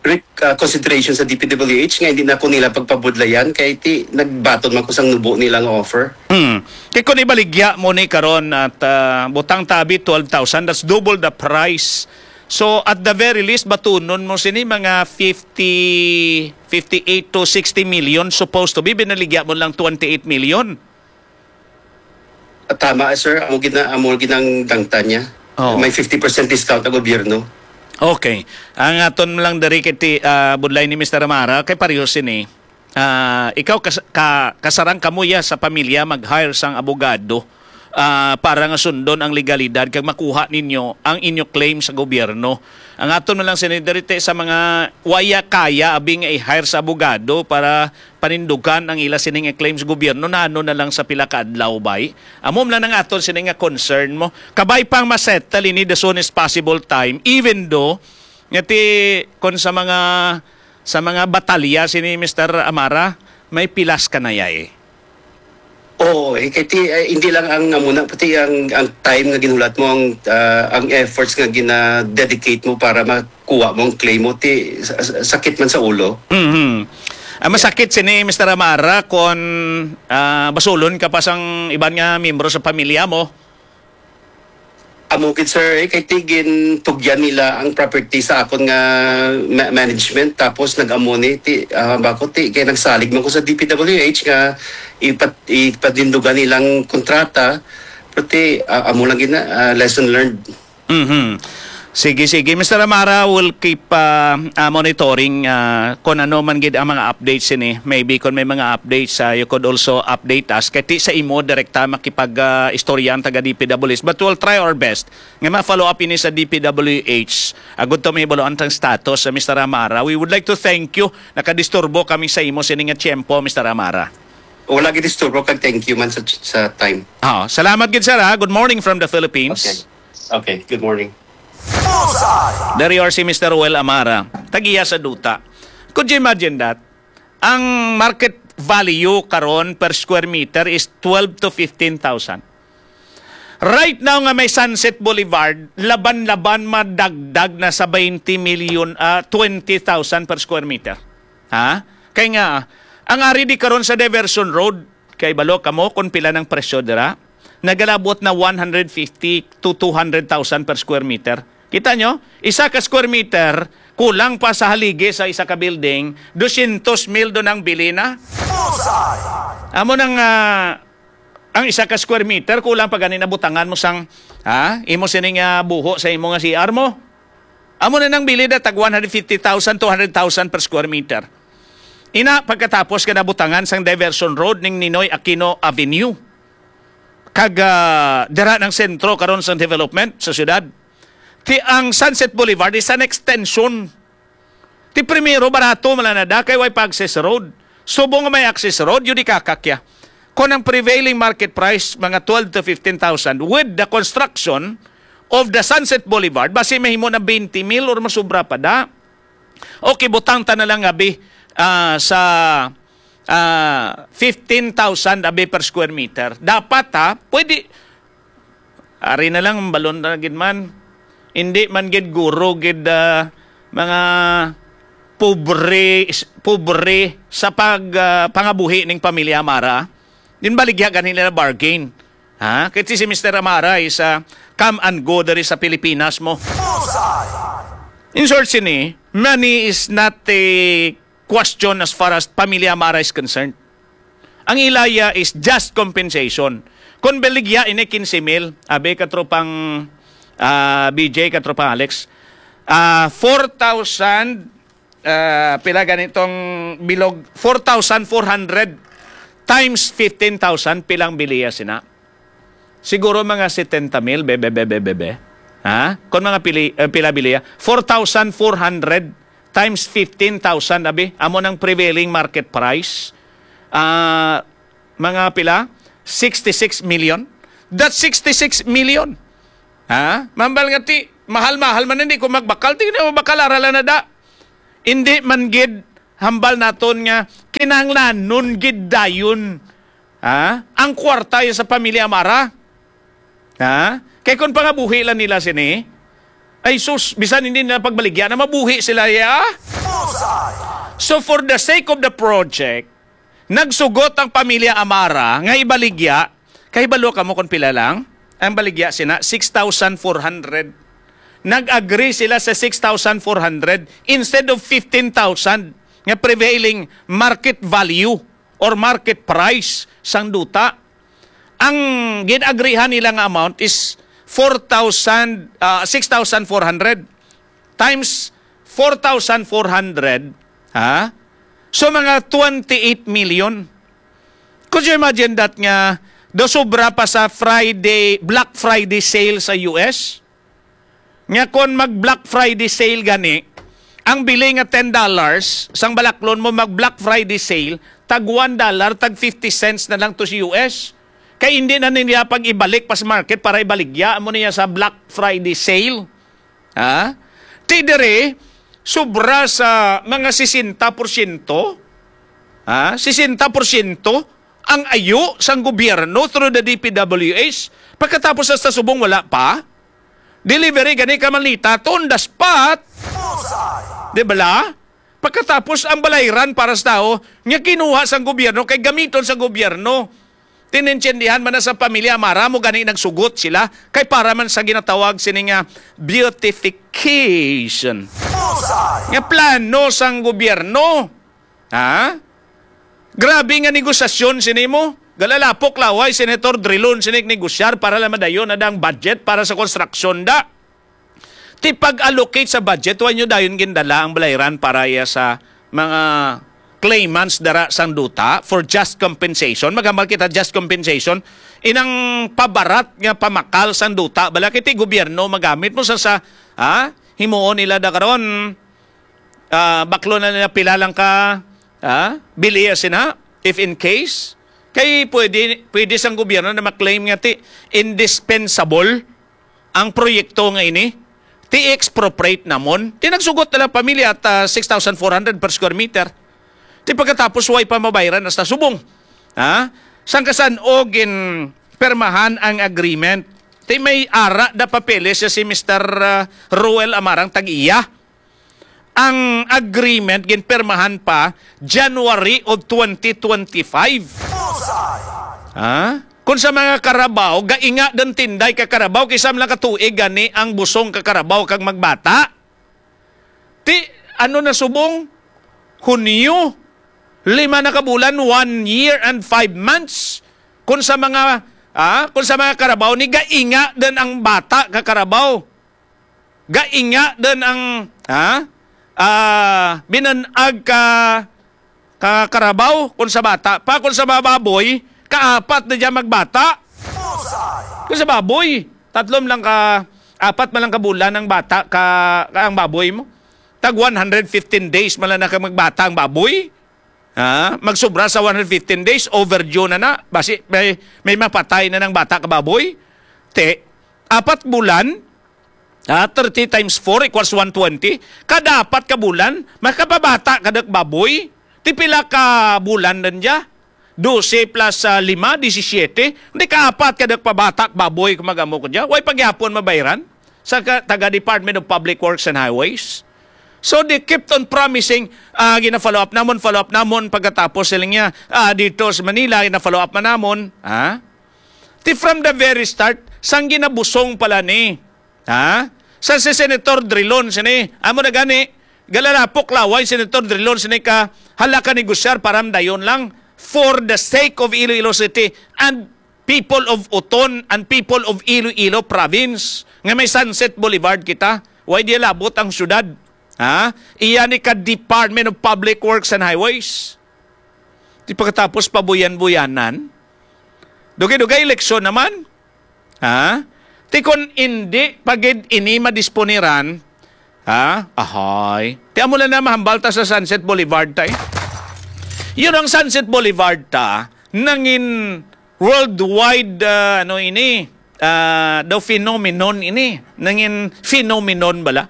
re-, ah, consideration sa D P W H nga hindi na ko nila pagpabudlayan kay ti nagbaton man ko sang nubo nila nga offer. Hmm. Kay kung ibaligya mo ni karon at, ah, butang tabi twelve thousand, that's double the price. So, at the very least, batunon mo sini mga fifty, fifty-eight to sixty million supposed to be. Binaligya mo lang twenty-eight million. Tama, sir. Amo gina-, amo ginang dangtan niya. Oh. May fifty percent discount ang gobyerno. Okay. Ang aton lang diri kay ti-, ah, budlay ni Mister Amara, kay pareho sini. Ah, ikaw kas-, ka-, kasarang kamo ya sa pamilya mag-hire sang abogado, ah, para nga sundon ang legalidad kag makuha ninyo ang inyo claim sa gobyerno. Ang aton na lang sini diri ti sa mga waya kaya abi nga i-hire sa abogado para panindugan ang ila sining claims gobyerno, nano na lang sa pila ka adlaw, bay? Amo man lang ang aton sini nga concern mo. Kabay pang masettle ini the soonest possible time, even though nga ti kon sa mga, sa mga batalya sini Mister Amara, may pilas ka na yay. Oo, eh, kay ti, eh, hindi lang ang amo na, pati ang, ang time nga ginhulat mo, ang, ah, ang efforts nga gina-dedicate mo para makuha mo ang claim mo, ti, sa-, sa-, sakit man sa ulo. Mhm. Ah, masakit sini, Mister Amara, kon, ah, basulon ka pa sang iban nga miyembro sa pamilya mo. Amo gid, sir, eh, kay ti gintugyan nila ang property sa akon nga ma-, management, tapos nag-amo ni ti, ah, bako ti kay nagsalig man ko sa D P W H nga ipat-, ipatindugan nilang kontrata, pero ti, ah, amo lang gid na, ah, lesson learned. Mhm. Sige, sige. Mister Amara, we'll keep, ah, ah, monitoring, ah, kung ano man gid ang mga updates ini. Maybe kung may mga updates, ah, you could also update us. Kay ti sa imo direkta makipag, ah, istorya ang taga D P W H. But we'll try our best nga ma-follow up ini sa D P W H. Agud to may baluan tang status sa Mister Amara. We would like to thank you. Nakadisturbo kami sa imo sini nga tiyempo, Mister Amara. Wala gid disturbo kag thank you man sa, sa time. Ah, salamat gid, sir, ha. Good morning from the Philippines. Okay. Okay, good morning. Bullseye! Dari or si Mister Ruel Amara, tagiya sa duta. Could you imagine that? Ang market value karon per square meter is twelve to fifteen thousand. Right now nga may Sunset Boulevard, laban-laban madagdag na sa twenty million, ah, twenty thousand per square meter. Ha? Kay nga, ang ari di karon sa Diversion Road, kay balo kamo kung pila ng presyo dira, nagalabot na one hundred fifty to two hundred thousand per square meter. Kita nyo? Isa ka square meter, kulang pa sa haligi sa isa ka building, dosyentos mil do nang bili na. Bullseye! Amo nang, ah, ang isa ka square meter, kulang pa gani na butangan mo sang, ha? Imo sining, ah, buho sa imo nga C R mo. Amo na nang bili na tag one hundred fifty thousand, two hundred thousand per square meter. Ina, pagkatapos ka nabutangan sang diversion road ning Ninoy Aquino Avenue, kag, ah, dira ng sentro karon sang development sa syudad. Ti ang Sunset Boulevard is an extension. Ti primero, barato man lang na da, kay way pa access road. Subong nga may access road, yun di kakakya. Kung ang prevailing market price, mga twelve to fifteen thousand, with the construction of the Sunset Boulevard, basi mahimo na twenty mil or masubra pa da. Okay, butang ta na lang abi, ah, sa, ah, fifteen thousand abi per square meter. Dapat, ha, pwede, ari na lang, balon na gid man. Hindi man gid guro gid, ah, mga pobre, pobre sa pag, ah, pangabuhi ning pamilya Amara. Din baligya gani nila bargain. Ha? Kay si Mister Amara is, ah, come and go diri sa Pilipinas mo. Bullseye! In short, sini, money is not a question as far as pamilya Amara is concerned. Ang ilaya is just compensation. Kung baligya ini quince mil, abi katropang, ah, B J, katropang Alex, Ah, four thousand, ah, pila ganitong bilog? Four thousand four hundred times fifteen thousand, pilang biliya sina? Siguro mga setenta mil, bebe, bebe, bebe. Ha? Kung mga pili, eh, pila biliya? Four thousand four hundred times fifteen thousand, abi, amo nang prevailing market price. Ah, mga pila? Sixty-six million. That's sixty-six million. Ha? Mambal nga ti, mahal-mahal man, hindi ko magbakal. Tingnan mo, bakal, aralan na da. Hindi man gid hambal naton nga kinahanglanon gid dayon, ha? Ang kwarta ya sa pamilya Amara. Ha? Kay kung pangabuhi lang nila sini, ay sus, bisan hindi na pagbaligya na mabuhi sila ya. So for the sake of the project, nagsugot ang pamilya Amara nga ibaligya, kahibalo ka mo kung pila lang? Ang baligya sina, six thousand four hundred. Nag-agree sila sa six thousand four hundred instead of fifteen thousand nga prevailing market value or market price sang duta. Ang gin-agreehan nila nga amount is four thousand, ah, six thousand four hundred times four thousand four hundred, ha? So, mga twenty-eight million. Could you imagine that nga daw sobra pa sa Friday, Black Friday sale sa U S? Nga kon mag Black Friday sale gani, ang bili nga ten dollars, sang balaklon mo mag Black Friday sale, tag one dollar, tag fifty cents na lang to sa U S. Kay hindi na niya pag ibalik pa sa market para ibaligya mo niya sa Black Friday sale. Ha? Ti diri, sobra sa mga sesenta porsyento, ha? Sesenta porsyento ang ayo sang gobyerno through the D P W H. Pagkatapos hasta subong wala pa. Delivery gani ka malita, on the spot. Di bala? Pagkatapos ang balayran para sa tao nga kinuha sang gobyerno kay gamiton sa gobyerno. Tinintindihan man na sa pamilya Amara mo gani nagsugot sila kay para man sa ginatawag sini nga beautification. Nga plano sang gobyerno. Ha? Grabe nga negosasyon sini mo. Galalapok laway, Senator Drilon, sini negosyar para lang madayon na dang budget para sa konstruksyon da. Ti pag-allocate sa budget, wa nyo dayon gindala ang balayran para iya sa mga claimants dara sang duta for just compensation. Magambal kita just compensation. Inang pabarat nga pamakal sang duta, bala kay ti gobyerno magamit mo sa, sa, ha? Himuon nila da karon. Ah, baklo na nila pila lang ka, ah, biliya sina, if in case. Kay pwede, pwede sang gobyerno na maklaim nga ti indispensable ang proyekto nga ini, ti expropriate namon. Ti nagsugot na lang pamilya at, ah, six thousand four hundred per square meter. Ti pagkatapos, way pa mabayran hasta subong. Ha? Sang kasan-o gin permahan ang agreement. Ti may ara da papeles siya si Mister, ah, Roel Amarang tag-iya. Ang agreement ginpirmahan pa January of twenty twenty-five. Ha? Kung sa mga Carabao, gainga din tinday ka Carabao, kay sa mga katuig gani ang busong ka Carabao kag magbata. Ti, ano na subong? Hunyo. Lima na ka bulan, one year and five months. Kung sa mga, ah, kung sa mga Carabao, ni gainga din ang bata ka Carabao. Gainga din ang, ha? Ah, binanag ka, ka Carabao, kung sa bata pa, kung sa mga baboy, kaapat na dyan magbata. Kung sa baboy, tatlom lang ka, apat man lang ka bulan ang bata ka, ka ang baboy mo. Tag one hundred fifteen days man lang na ka magbata ang baboy. Ha? Magsubra sa one hundred fifteen days, overdue na na. Basi may, may mapatay na ng bata ka baboy. Te, apat bulan, ha? Thirty times four equals one twenty. Kada apat ka bulan, makapabata ka dak baboy. Ti pila ka bulan din dya? Dose plus, ah, lima, disisyete. Hindi ka apat ka dak pabata ka baboy kung mag-amo ko dya. Way pagyapon mabayran sa ka, taga Department of Public Works and Highways. So they kept on promising, ah, gina-follow up namon, follow up namon, pagkatapos sila niya, ah, dito sa Manila, gina-follow up man namon, ha? Ti from the very start, sang ginabusong pala ni, ha? Sa si Senator Drilon, sini, amo na gani, galalapok laway, Senator Drilon, sini ka, hala ka negosyar para dayon lang for the sake of Iloilo City and people of Oton and people of Iloilo Province, nga may Sunset Boulevard kita. Why di labot ang syudad? Ha? Iya ni ka Department of Public Works and Highways. Di pagkatapos pabuyan-buyanan. Dugay-dugay eleksyon naman. Ha? Ti kon indi pa gid ini madisponiran, ha? Ahay. Ti amo lang na mahambal ta sa Sunset Boulevard, tay. Yun ang Sunset Boulevard ta, nangin worldwide, ah, ano ini, ah, daw phenomenon ini. Nangin phenomenon bala.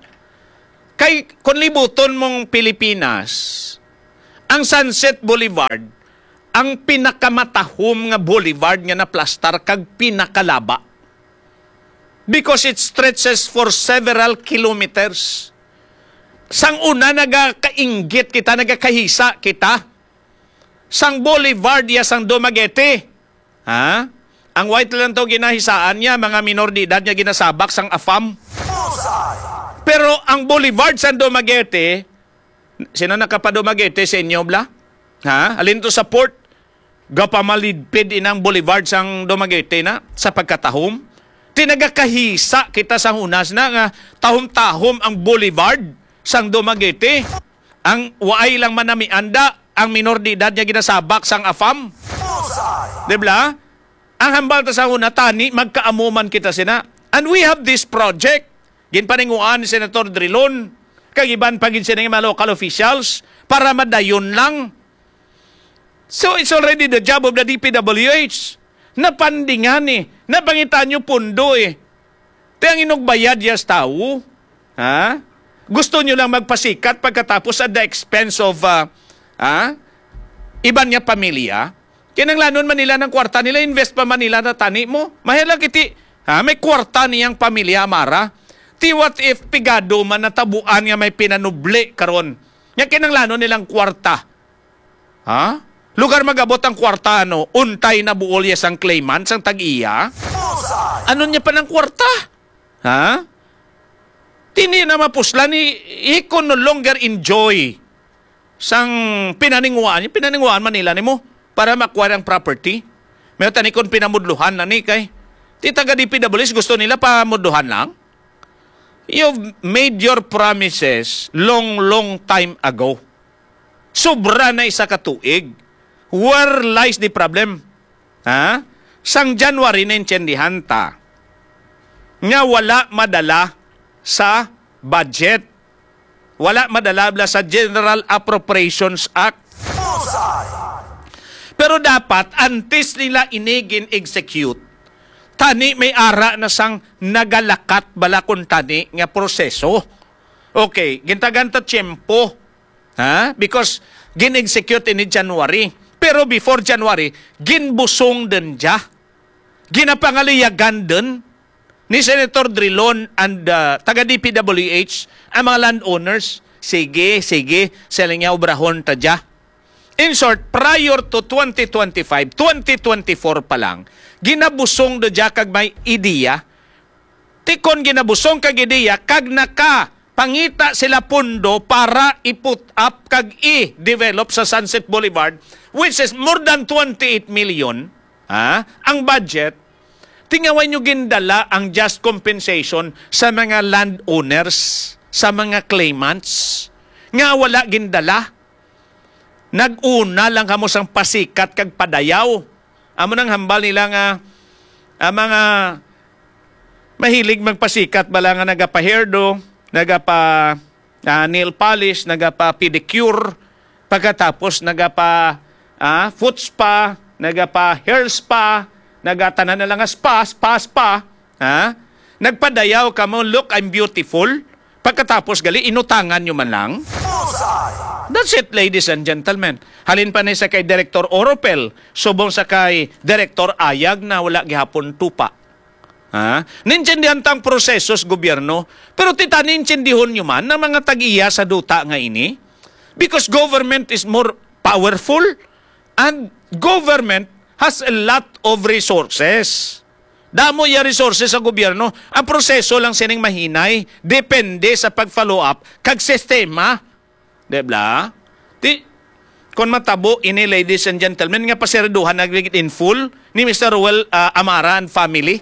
Kay, kung libuton mong Pilipinas, ang Sunset Boulevard, ang pinakamatahom nga boulevard nga naplastar kag pinakalaba. Because it stretches for several kilometers. Sang una, nagakainggit kita, nagakahisa kita. Sang boulevard ya sang Dumaguete. Ha? Ang white lang to ginahisaan niya, mga minor de edad nga ginasabak sang afam. Pero ang boulevard sang Dumaguete, sino nakapa-Dumaguete sa inyo, bla? Ha? Alin to sa port? Gapamalidpid inang boulevard sang Dumaguete na sa pagkatahom. Ti nagakahisa kita sa hunas na nga tahom-tahom ang boulevard sang Dumaguete. Ang waay lang manamianda, ang minor de edad nga ginasabak sang afam. Di bla? Ang hambal ta sa una, tani, magkaamo man kita sina. And we have this project. Ginpaninguan ni Senator Drilon, kag iban pa gid sina nga mga local officials, para madayon lang. So, it's already the job of the D P W H. Napandingan eh. Napangitan nyo pundo eh. Ti ang inugbayad ya sa tawo, ha? Gusto nyo lang magpasikat pagkatapos at the expense of, ah, ah, iban nga pamilya? Kinanglanon man nila ng kwarta nila, invest pa man nila na tani mo. Mahal lang kiti, ha? May kwarta niyang pamilya, Amara. Ti what if pigado man natabuan nga may pinanubli karon? Nga kinanglanon nilang kwarta. Ha? Lugar magabot ang kwarta, ano, untay na buol ya sang claimant, sang tag-iya. Ano niya pa ng kwarta? Ha? Tini na mapuslan ni, he could no longer enjoy sang pinaninguhaan. Yung pinaninguhaan man nila nimo para ma-acquire ang property. May tani kon pinamudluhan na ni kay. Ti taga D P W S gusto nila pamudluhan lang. You've made your promises long, long time ago. Sobra na isa ka tuig. Where lies the problem? Ha? Sang January, naintindihan ta nga wala madala sa budget. Wala madala bla sa General Appropriations Act. Pero dapat, antes nila ini gin-execute, tani may ara na sang nagalakat bala kun tani nga proseso. Okay, gintagan ta tiyempo. Ha? Because gin-execute ini January. Pero before January, ginbusong din dya. Ginapangaliyagan din ni Senator Drilon and, uh, taga D P W H ang mga landowners. Sige, sige, sila niya obrahon ta dya. In short, prior to twenty twenty-five, twenty twenty-four pa lang, ginabusong na dya kag may ideya. Ti kon ginabusong kag ideya, kag nakapangita sila pundo para i-put up kag i-develop sa Sunset Boulevard, which is more than twenty-eight million, ha, ang budget, tingaway nyo gindala ang just compensation sa mga landowners, sa mga claimants, nga wala gindala. Nag-una lang kamo sang pasikat kag padayaw. Amo nang hambal nila nga ang mga mahilig magpasikat bala nga nagapa-hairdo, nagapa, ah, nail polish, nagapa-pedicure, pagkatapos nagapa, ah, foot spa, nagapa-hair spa, nagatanan na lang nga spa, spa, spa, ha? Nagpadayaw kamo, "Look, I'm beautiful." Pagkatapos gali, inutangan nyo man lang. That's it, ladies and gentlemen. Halin pa ni sa kay Director Oropel, subong sa kay Director Ayag na wala gihapon tupa. Ha? Naintindihan ta ang proseso sa gobyerno, pero ti tani intindihon nyo man ang mga tag-iya sa duta nga ini. Because government is more powerful and government has a lot of resources. Damo ya resources sa gobyerno. Ang proseso lang sining mahinay, depende sa pag-follow up kag sistema. Di ba? Ti, kon matabo ini, ladies and gentlemen, nga pasiraduhan na gid in full ni Mister Roel, ah, Amara and family,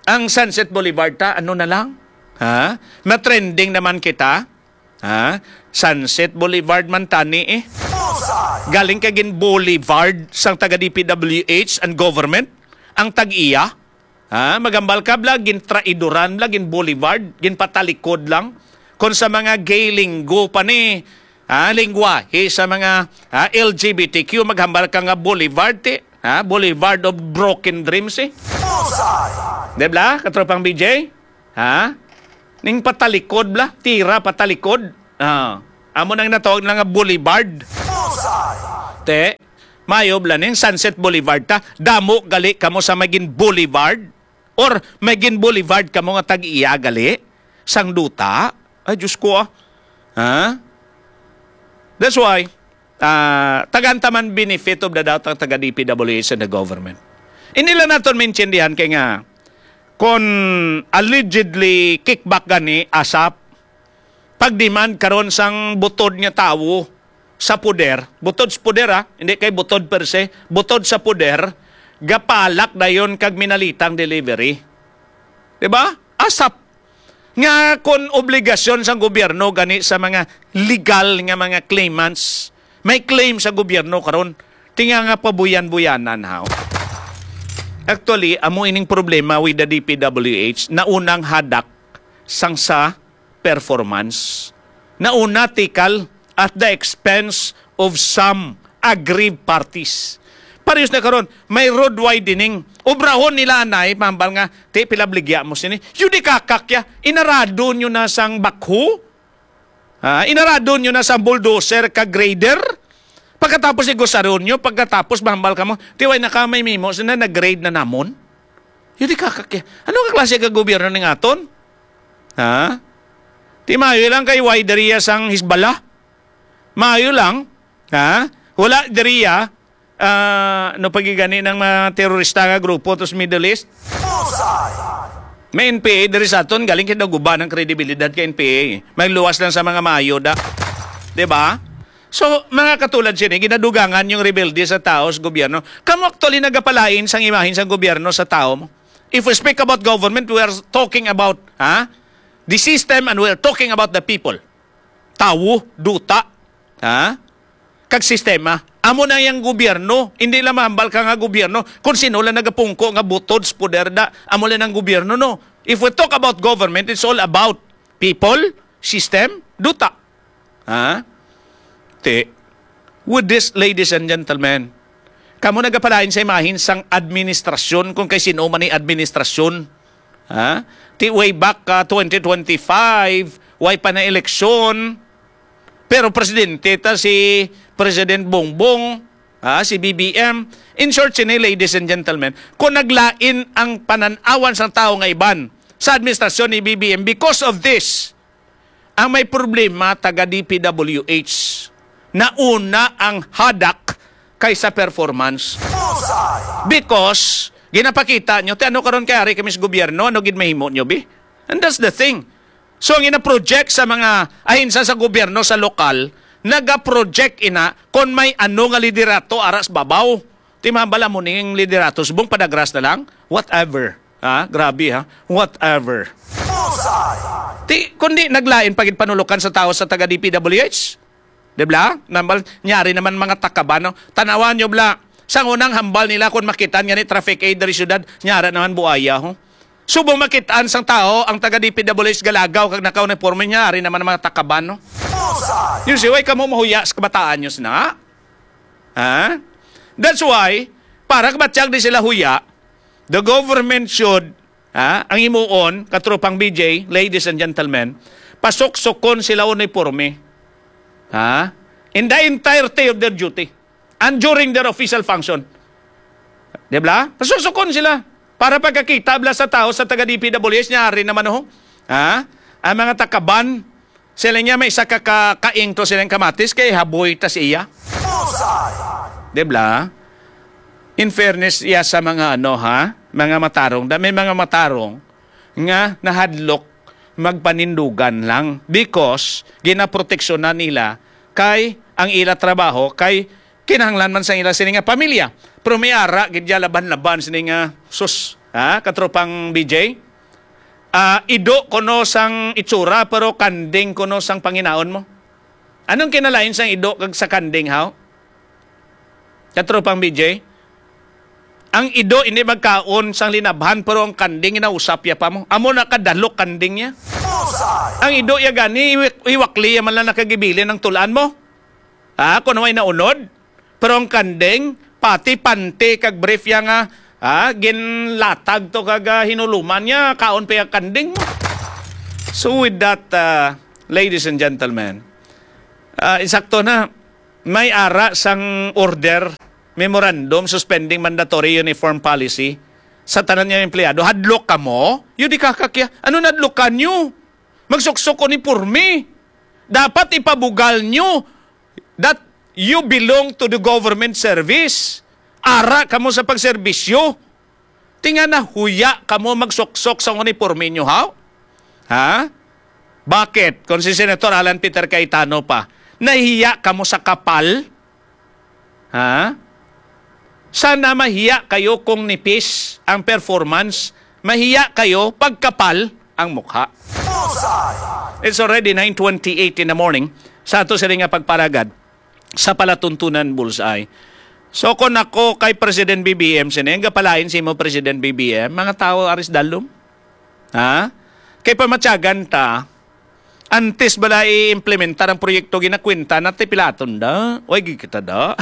ang Sunset Boulevard ta, ano na lang? Ha? Matrending naman kita. Ha? Sunset Boulevard man tani eh. Galing ka gin boulevard sang taga D P W H and government ang tag-iya. Ha? Magambal ka bla, gin traidoran bla, gin boulevard, gin patalikod lang. Kung sa mga gay lingo pa ni, ha, lingwahe sa mga, ha, L G B T Q, maghambal ka nga boulevard, ti, ha, boulevard of broken dreams eh. Di bla, katropang B J? Ha? Ning patalikod bla, tira patalikod. Ah, amo nang natawag na nga boulevard. Te, mayo bla ning Sunset Boulevard ta. Damo gali kamo sa magin boulevard or magin boulevard kamo nga tag-iya gali sang duta. Ay, Diyos ko, ah. Ha? That's why, ah, tagaan ta man benefit of the doubt ang taga D P W H and the government. Hindi lang naton maintindihan kay nga, kung allegedly kickback gani, asap, pag-demand karon sang butod nga tawo sa poder, butod sa poder, ha, hindi kay butod per se, butod sa poder, gapalak dayon kag minalitang delivery. Di ba? Asap nga kon obligasyon sang gobyerno gani sa mga legal nga mga claimants, may claim sa gobyerno karon, tinga nga pabuyan-buyanan, haw. Actually, amo ining problema with the D P W H, naunang hadak sang sa performance. Nauna tikal at the expense of some aggrieved parties. Parehas na karon, may road widening. Obrahon nila anay, mambal nga, "Ti, pila bligya mo sini?" Yun di kakakya, inarado nyo na sang bakho. Ah, inarado nyo na sang bulldozer ka grader. Pagkatapos igusaron nyo, pagkatapos mambal ka mo, "Ti, way na ka may mimo, sina nag-grade na namon." Yun di kakakya. Ano ka klase ka gobyerno ning aton? Ha? Ti, maayo lang kay way diriya sang Hezbollah. Maayo lang. Ha? Wala diriya, ah, no, pagigani ng mga terorista nga grupo to sa Middle East. May N P A diri sa aton, galing kita guba ng kredibilidad kay N P A. May luwas lang sa mga maayo da. Di ba? So, mga katulad sini, ginadugangan yung rebelde sa tao sa gobyerno. Kamo actually nagapalain sang imahin sang gobyerno sa tao mo. If we speak about government, we are talking about, ha? The system, and we are talking about the people. Tawo, duta, ha? Kag sistema. Amo na yang gobyerno. Hindi lang mahambal ka nga gobyerno kung sino lang nagapungko nga butod sa poder da. Amo lang ang gobyerno, no? If we talk about government, it's all about people, system, duta. Ha? Ti, with this, ladies and gentlemen, kamo nagapalain sa imahin sang administrasyon kung kay sino man ni administrasyon. Ha? Ti way back ka twenty twenty-five, way pa na eleksyon, pero presidente ta si President Bongbong, ha, si B B M. In short, sini, ladies and gentlemen, kung naglain ang pananawan sang tawo nga iban sa administrasyon ni B B M because of this, ang may problema, taga D P W H, nauna ang hadak kaysa performance. Because, ginapakita nyo, ti ano karon kay ari kami sa gobyerno, ano gid mahimo nyo, bi? And that's the thing. So, ang ina-project sa mga ahensa sa gobyerno sa lokal, naga-project ina kon may ano nga liderato ara sa babaw. Ti mabala mo ning liderato subong padagras na lang? Whatever. Ha? Grabe, ha? Whatever. Ti, kundi naglain pa gid panulokan sa tao sa taga D P W H. Di ba? Nambal, nyari naman mga takaban, no? Tanawan nyo, bla. Sang unang hambal nila kung makitaan nga ni traffic aid diri syudad, nyara naman buaya, ho? Subong makitaan sang tao ang taga D P W H galagaw kag nakauniforme, nyari naman ang mga takaban, no? Yung siway kamo mahuya sa kabataan nyo sina. Ha? That's why, para kabatyag di sila huya, the government should, ha, ang imuon, katropang B J, ladies and gentlemen, pasuksukon sila uniforme. Ha? In the entirety of their duty and during their official function. Di ba? Pasuksukon sila. Para pagkakita bla sa tao sa taga D P W H, nyari naman, oh. Ha? Ang mga takaban, sila niya may isa ka ka-, kaing to silang kamatis kay haboy ta siya. Di ba? In fairness, iya sa mga ano, ha? Mga matarong. Da-, may mga matarong nga nahadlok magpanindugan lang because ginaproteksyonan nila kay ang ila trabaho kay kinahanglan man sa ila sini nga pamilya. Pero may ara gid ya laban-laban sini nga sus, ha, katropang B J? Ah, ido kuno sang itsura, pero kanding kuno sang panginaon mo. Anong kinalain sang ido kag sa kanding, haw? Katropang B J, ang ido hindi magkaon sang linabhan, pero ang kanding inausap ya pa mo. Amo na kadalok kanding niya. Ang ido ya gani, iwak-, iwakli ya man lang nakagibilin ang tulaan mo. Ha? Kung may naunod, pero ang kanding, pati panty kag brief ya nga, ha? Ginlatag to kag, ah, hinuluman niya, kaon pa yung kanding mo. So with that, uh, ladies and gentlemen, uh, insakto na, may ara sang order, memorandum suspending mandatory uniform policy sa tanan nga empleyado. Hadlok kamo? Yun di kakakya. Ano nadlokan nyo? Magsuksok uniporme. Dapat ipabugal nyo that you belong to the government service. Ara kamo sa pagserbisyo. Tinga nahuya kamo magsuksok sa uniporme nyo, haw? Ha? Bakit? Kung si Senator Alan Peter Cayetano pa, nahiya kamo sa kapal? Ha? Sana mahiya kayo kung nipis ang performance, mahiya kayo pagkapal ang mukha. It's already nine twenty-eight in the morning. Sa ato sila nga pagparagad sa palatuntunan, Bullseye. So, kung ako kay President B B M, sini ang gapalain si mo, President B B M, mga tao aris dalom? Ha? Kay pamatyagan ta, antes bala i-implementar ang proyekto, ginakwenta na ti pilaton da. Way gid kita da.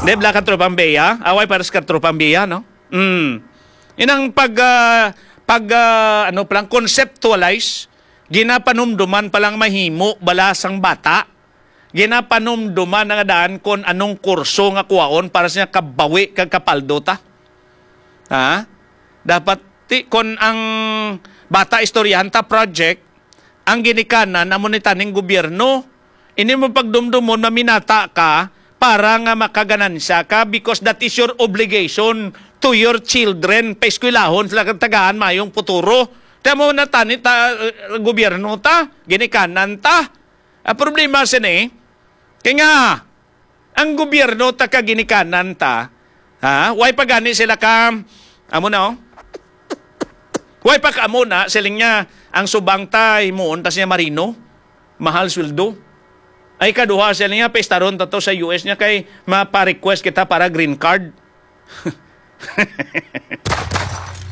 Di bala ka tropang beya? Away para sa katropang beya, no? Mm. Inang pag, ah, pag, ah, ano palang conceptualize, ginapanumduman palang mahimo bala sang bata. Ginapanumduman na nga daan kon anong kurso nga kuwaon para sa kabawi kag kapaldo ta. Ha? Dapat ti, kon ang bata istoryahan ta project, ang ginikanan amo ni taning gobyerno. Ini mo pagdumdumon, maminata ka para nga makaganansya ka because that is your obligation to your children. Paeskwelahon sila kag tagaan mayong futuro. Kaya mo na tani ta, uh, gobyerno ta, ginikanan ta. Ang problema sini, kay nga, ang gobyerno ta ka ginikanan ta, ha? Way pa gani sila ka, amo na, oh. Way pa ka amo na, siling niya, ang subang ta, himuon ta siya marino, mahal sweldo. Ay, kaduha, siling niya, pestaron ta to sa U S niya, kay mapa-request kita para green card.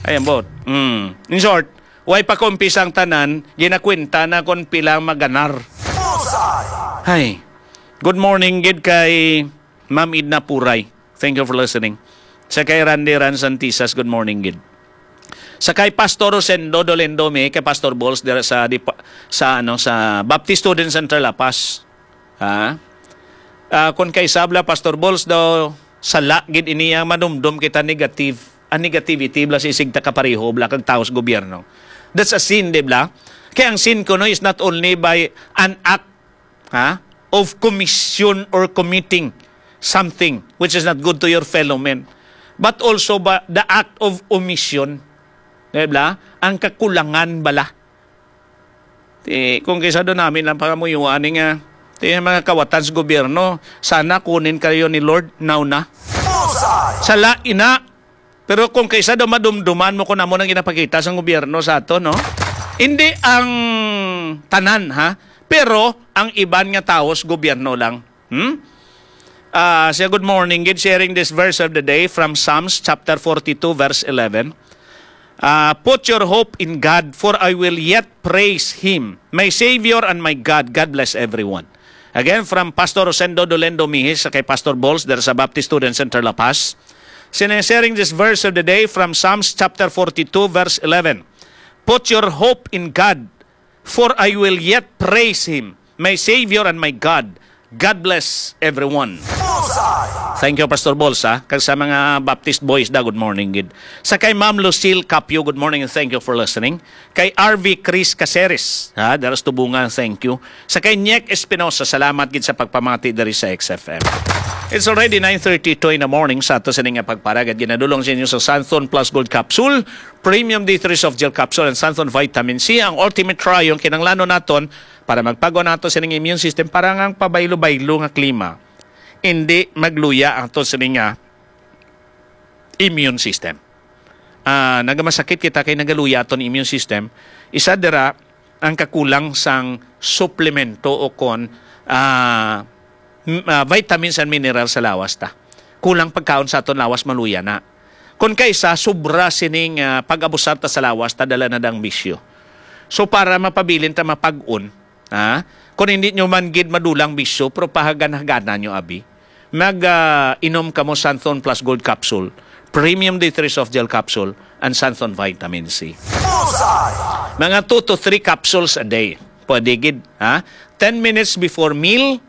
Ay, ambot. Mm. In short, way pa kumpisa ang tanan, ginakwenta na kung pila ang maganar. Bullseye! Hay. Good morning gid kay Ma'am Edna Puray. Thank you for listening. Sa kay Randy Ran Santisas, good morning gid. Sa kay Pastor Rosendo Dolendo, mi kay Pastor Balls dira sa dipa-, sa, ano, sa Baptist Student Center La Paz. Ha? Ah, kung kay sabla, Pastor Balls daw, sala gid ini ang manumdom kita negative. Ang negativity, bla, sa isig ta kapareho, bla, kag taos gobyerno. That's a sin, di bla? Kaya ang sin kuno is not only by an act, ha, of commission or committing something which is not good to your fellow men, but also ba the act of omission, di bla? Ang kakulangan bala. Ti, kung kisa do namin lang pangamuyuan ni nga, ti, mga kawatan sa gobyerno, sana kunin kayo ni Lord now na. Bullseye! Sala ina. Pero kung kaysa daw madumduman mo kung amo nang ginapakita sang gobyerno sa ato, no? Hindi ang tanan, ha? Pero ang iban nga tawo sa gobyerno lang. Hmm? Ah, siya, good morning. Gid sharing this verse of the day from Psalms chapter forty-two, verse eleven. Ah, "Put your hope in God, for I will yet praise Him, my Savior and my God." God bless everyone. Again, from Pastor Rosendo Dolendo Mihis sa kay Pastor Balls there sa Baptist Student Center La Paz. Sinasharing this verse of the day from Psalms chapter forty-two, verse eleven. "Put your hope in God, for I will yet praise Him, my Savior and my God." God bless everyone. Bullseye! Thank you, Pastor Balls, ha? Kag sa mga Baptist boys da, good morning gid. Sa kay Ma'am Lucille Capio, good morning and thank you for listening. Kay R V Chris Caceres, ha, daras Tubungan, thank you. Sa kay Niek Espinosa, salamat gid sa pagpamati diri sa X F M. It's already nine thirty-two in the morning sa ato sini nga pagparagad. Ginadulong sa inyo sa Santhon Plus Gold Capsule, Premium D three Soft Gel Capsule, and Santhon Vitamin C, ang ultimate trio ang kinanglanon naton para magpagwa nato sining immune system, para nga ang pabaylo-baylo nga klima, hindi magluya ang ato sini nga immune system. ah, nagamasakit kita kay nagaluya aton immune system, isa dira ang kakulang sang suplemento o kon, ah, m- ah, vitamins and minerals sa lawas ta. Kulang pagkaon sa aton lawas, maluya na. Kon kaisa, sobra sining, ah, pag-abusar ta sa lawas ta, dala na dang bisyo. So, para mapabilin ta mapag-on, ha? Kung hindi nyo man gid madulang bisyo, pero pahagan-hagana nyo, abi. Mag, ah, inom kamo Santhon Plus Gold Capsule, Premium D three Soft Gel Capsule, and Santhon Vitamin C. Bullseye! Mga two to three capsules a day. Pwede gid, ha? Ten minutes before meal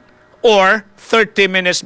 or thirty minutes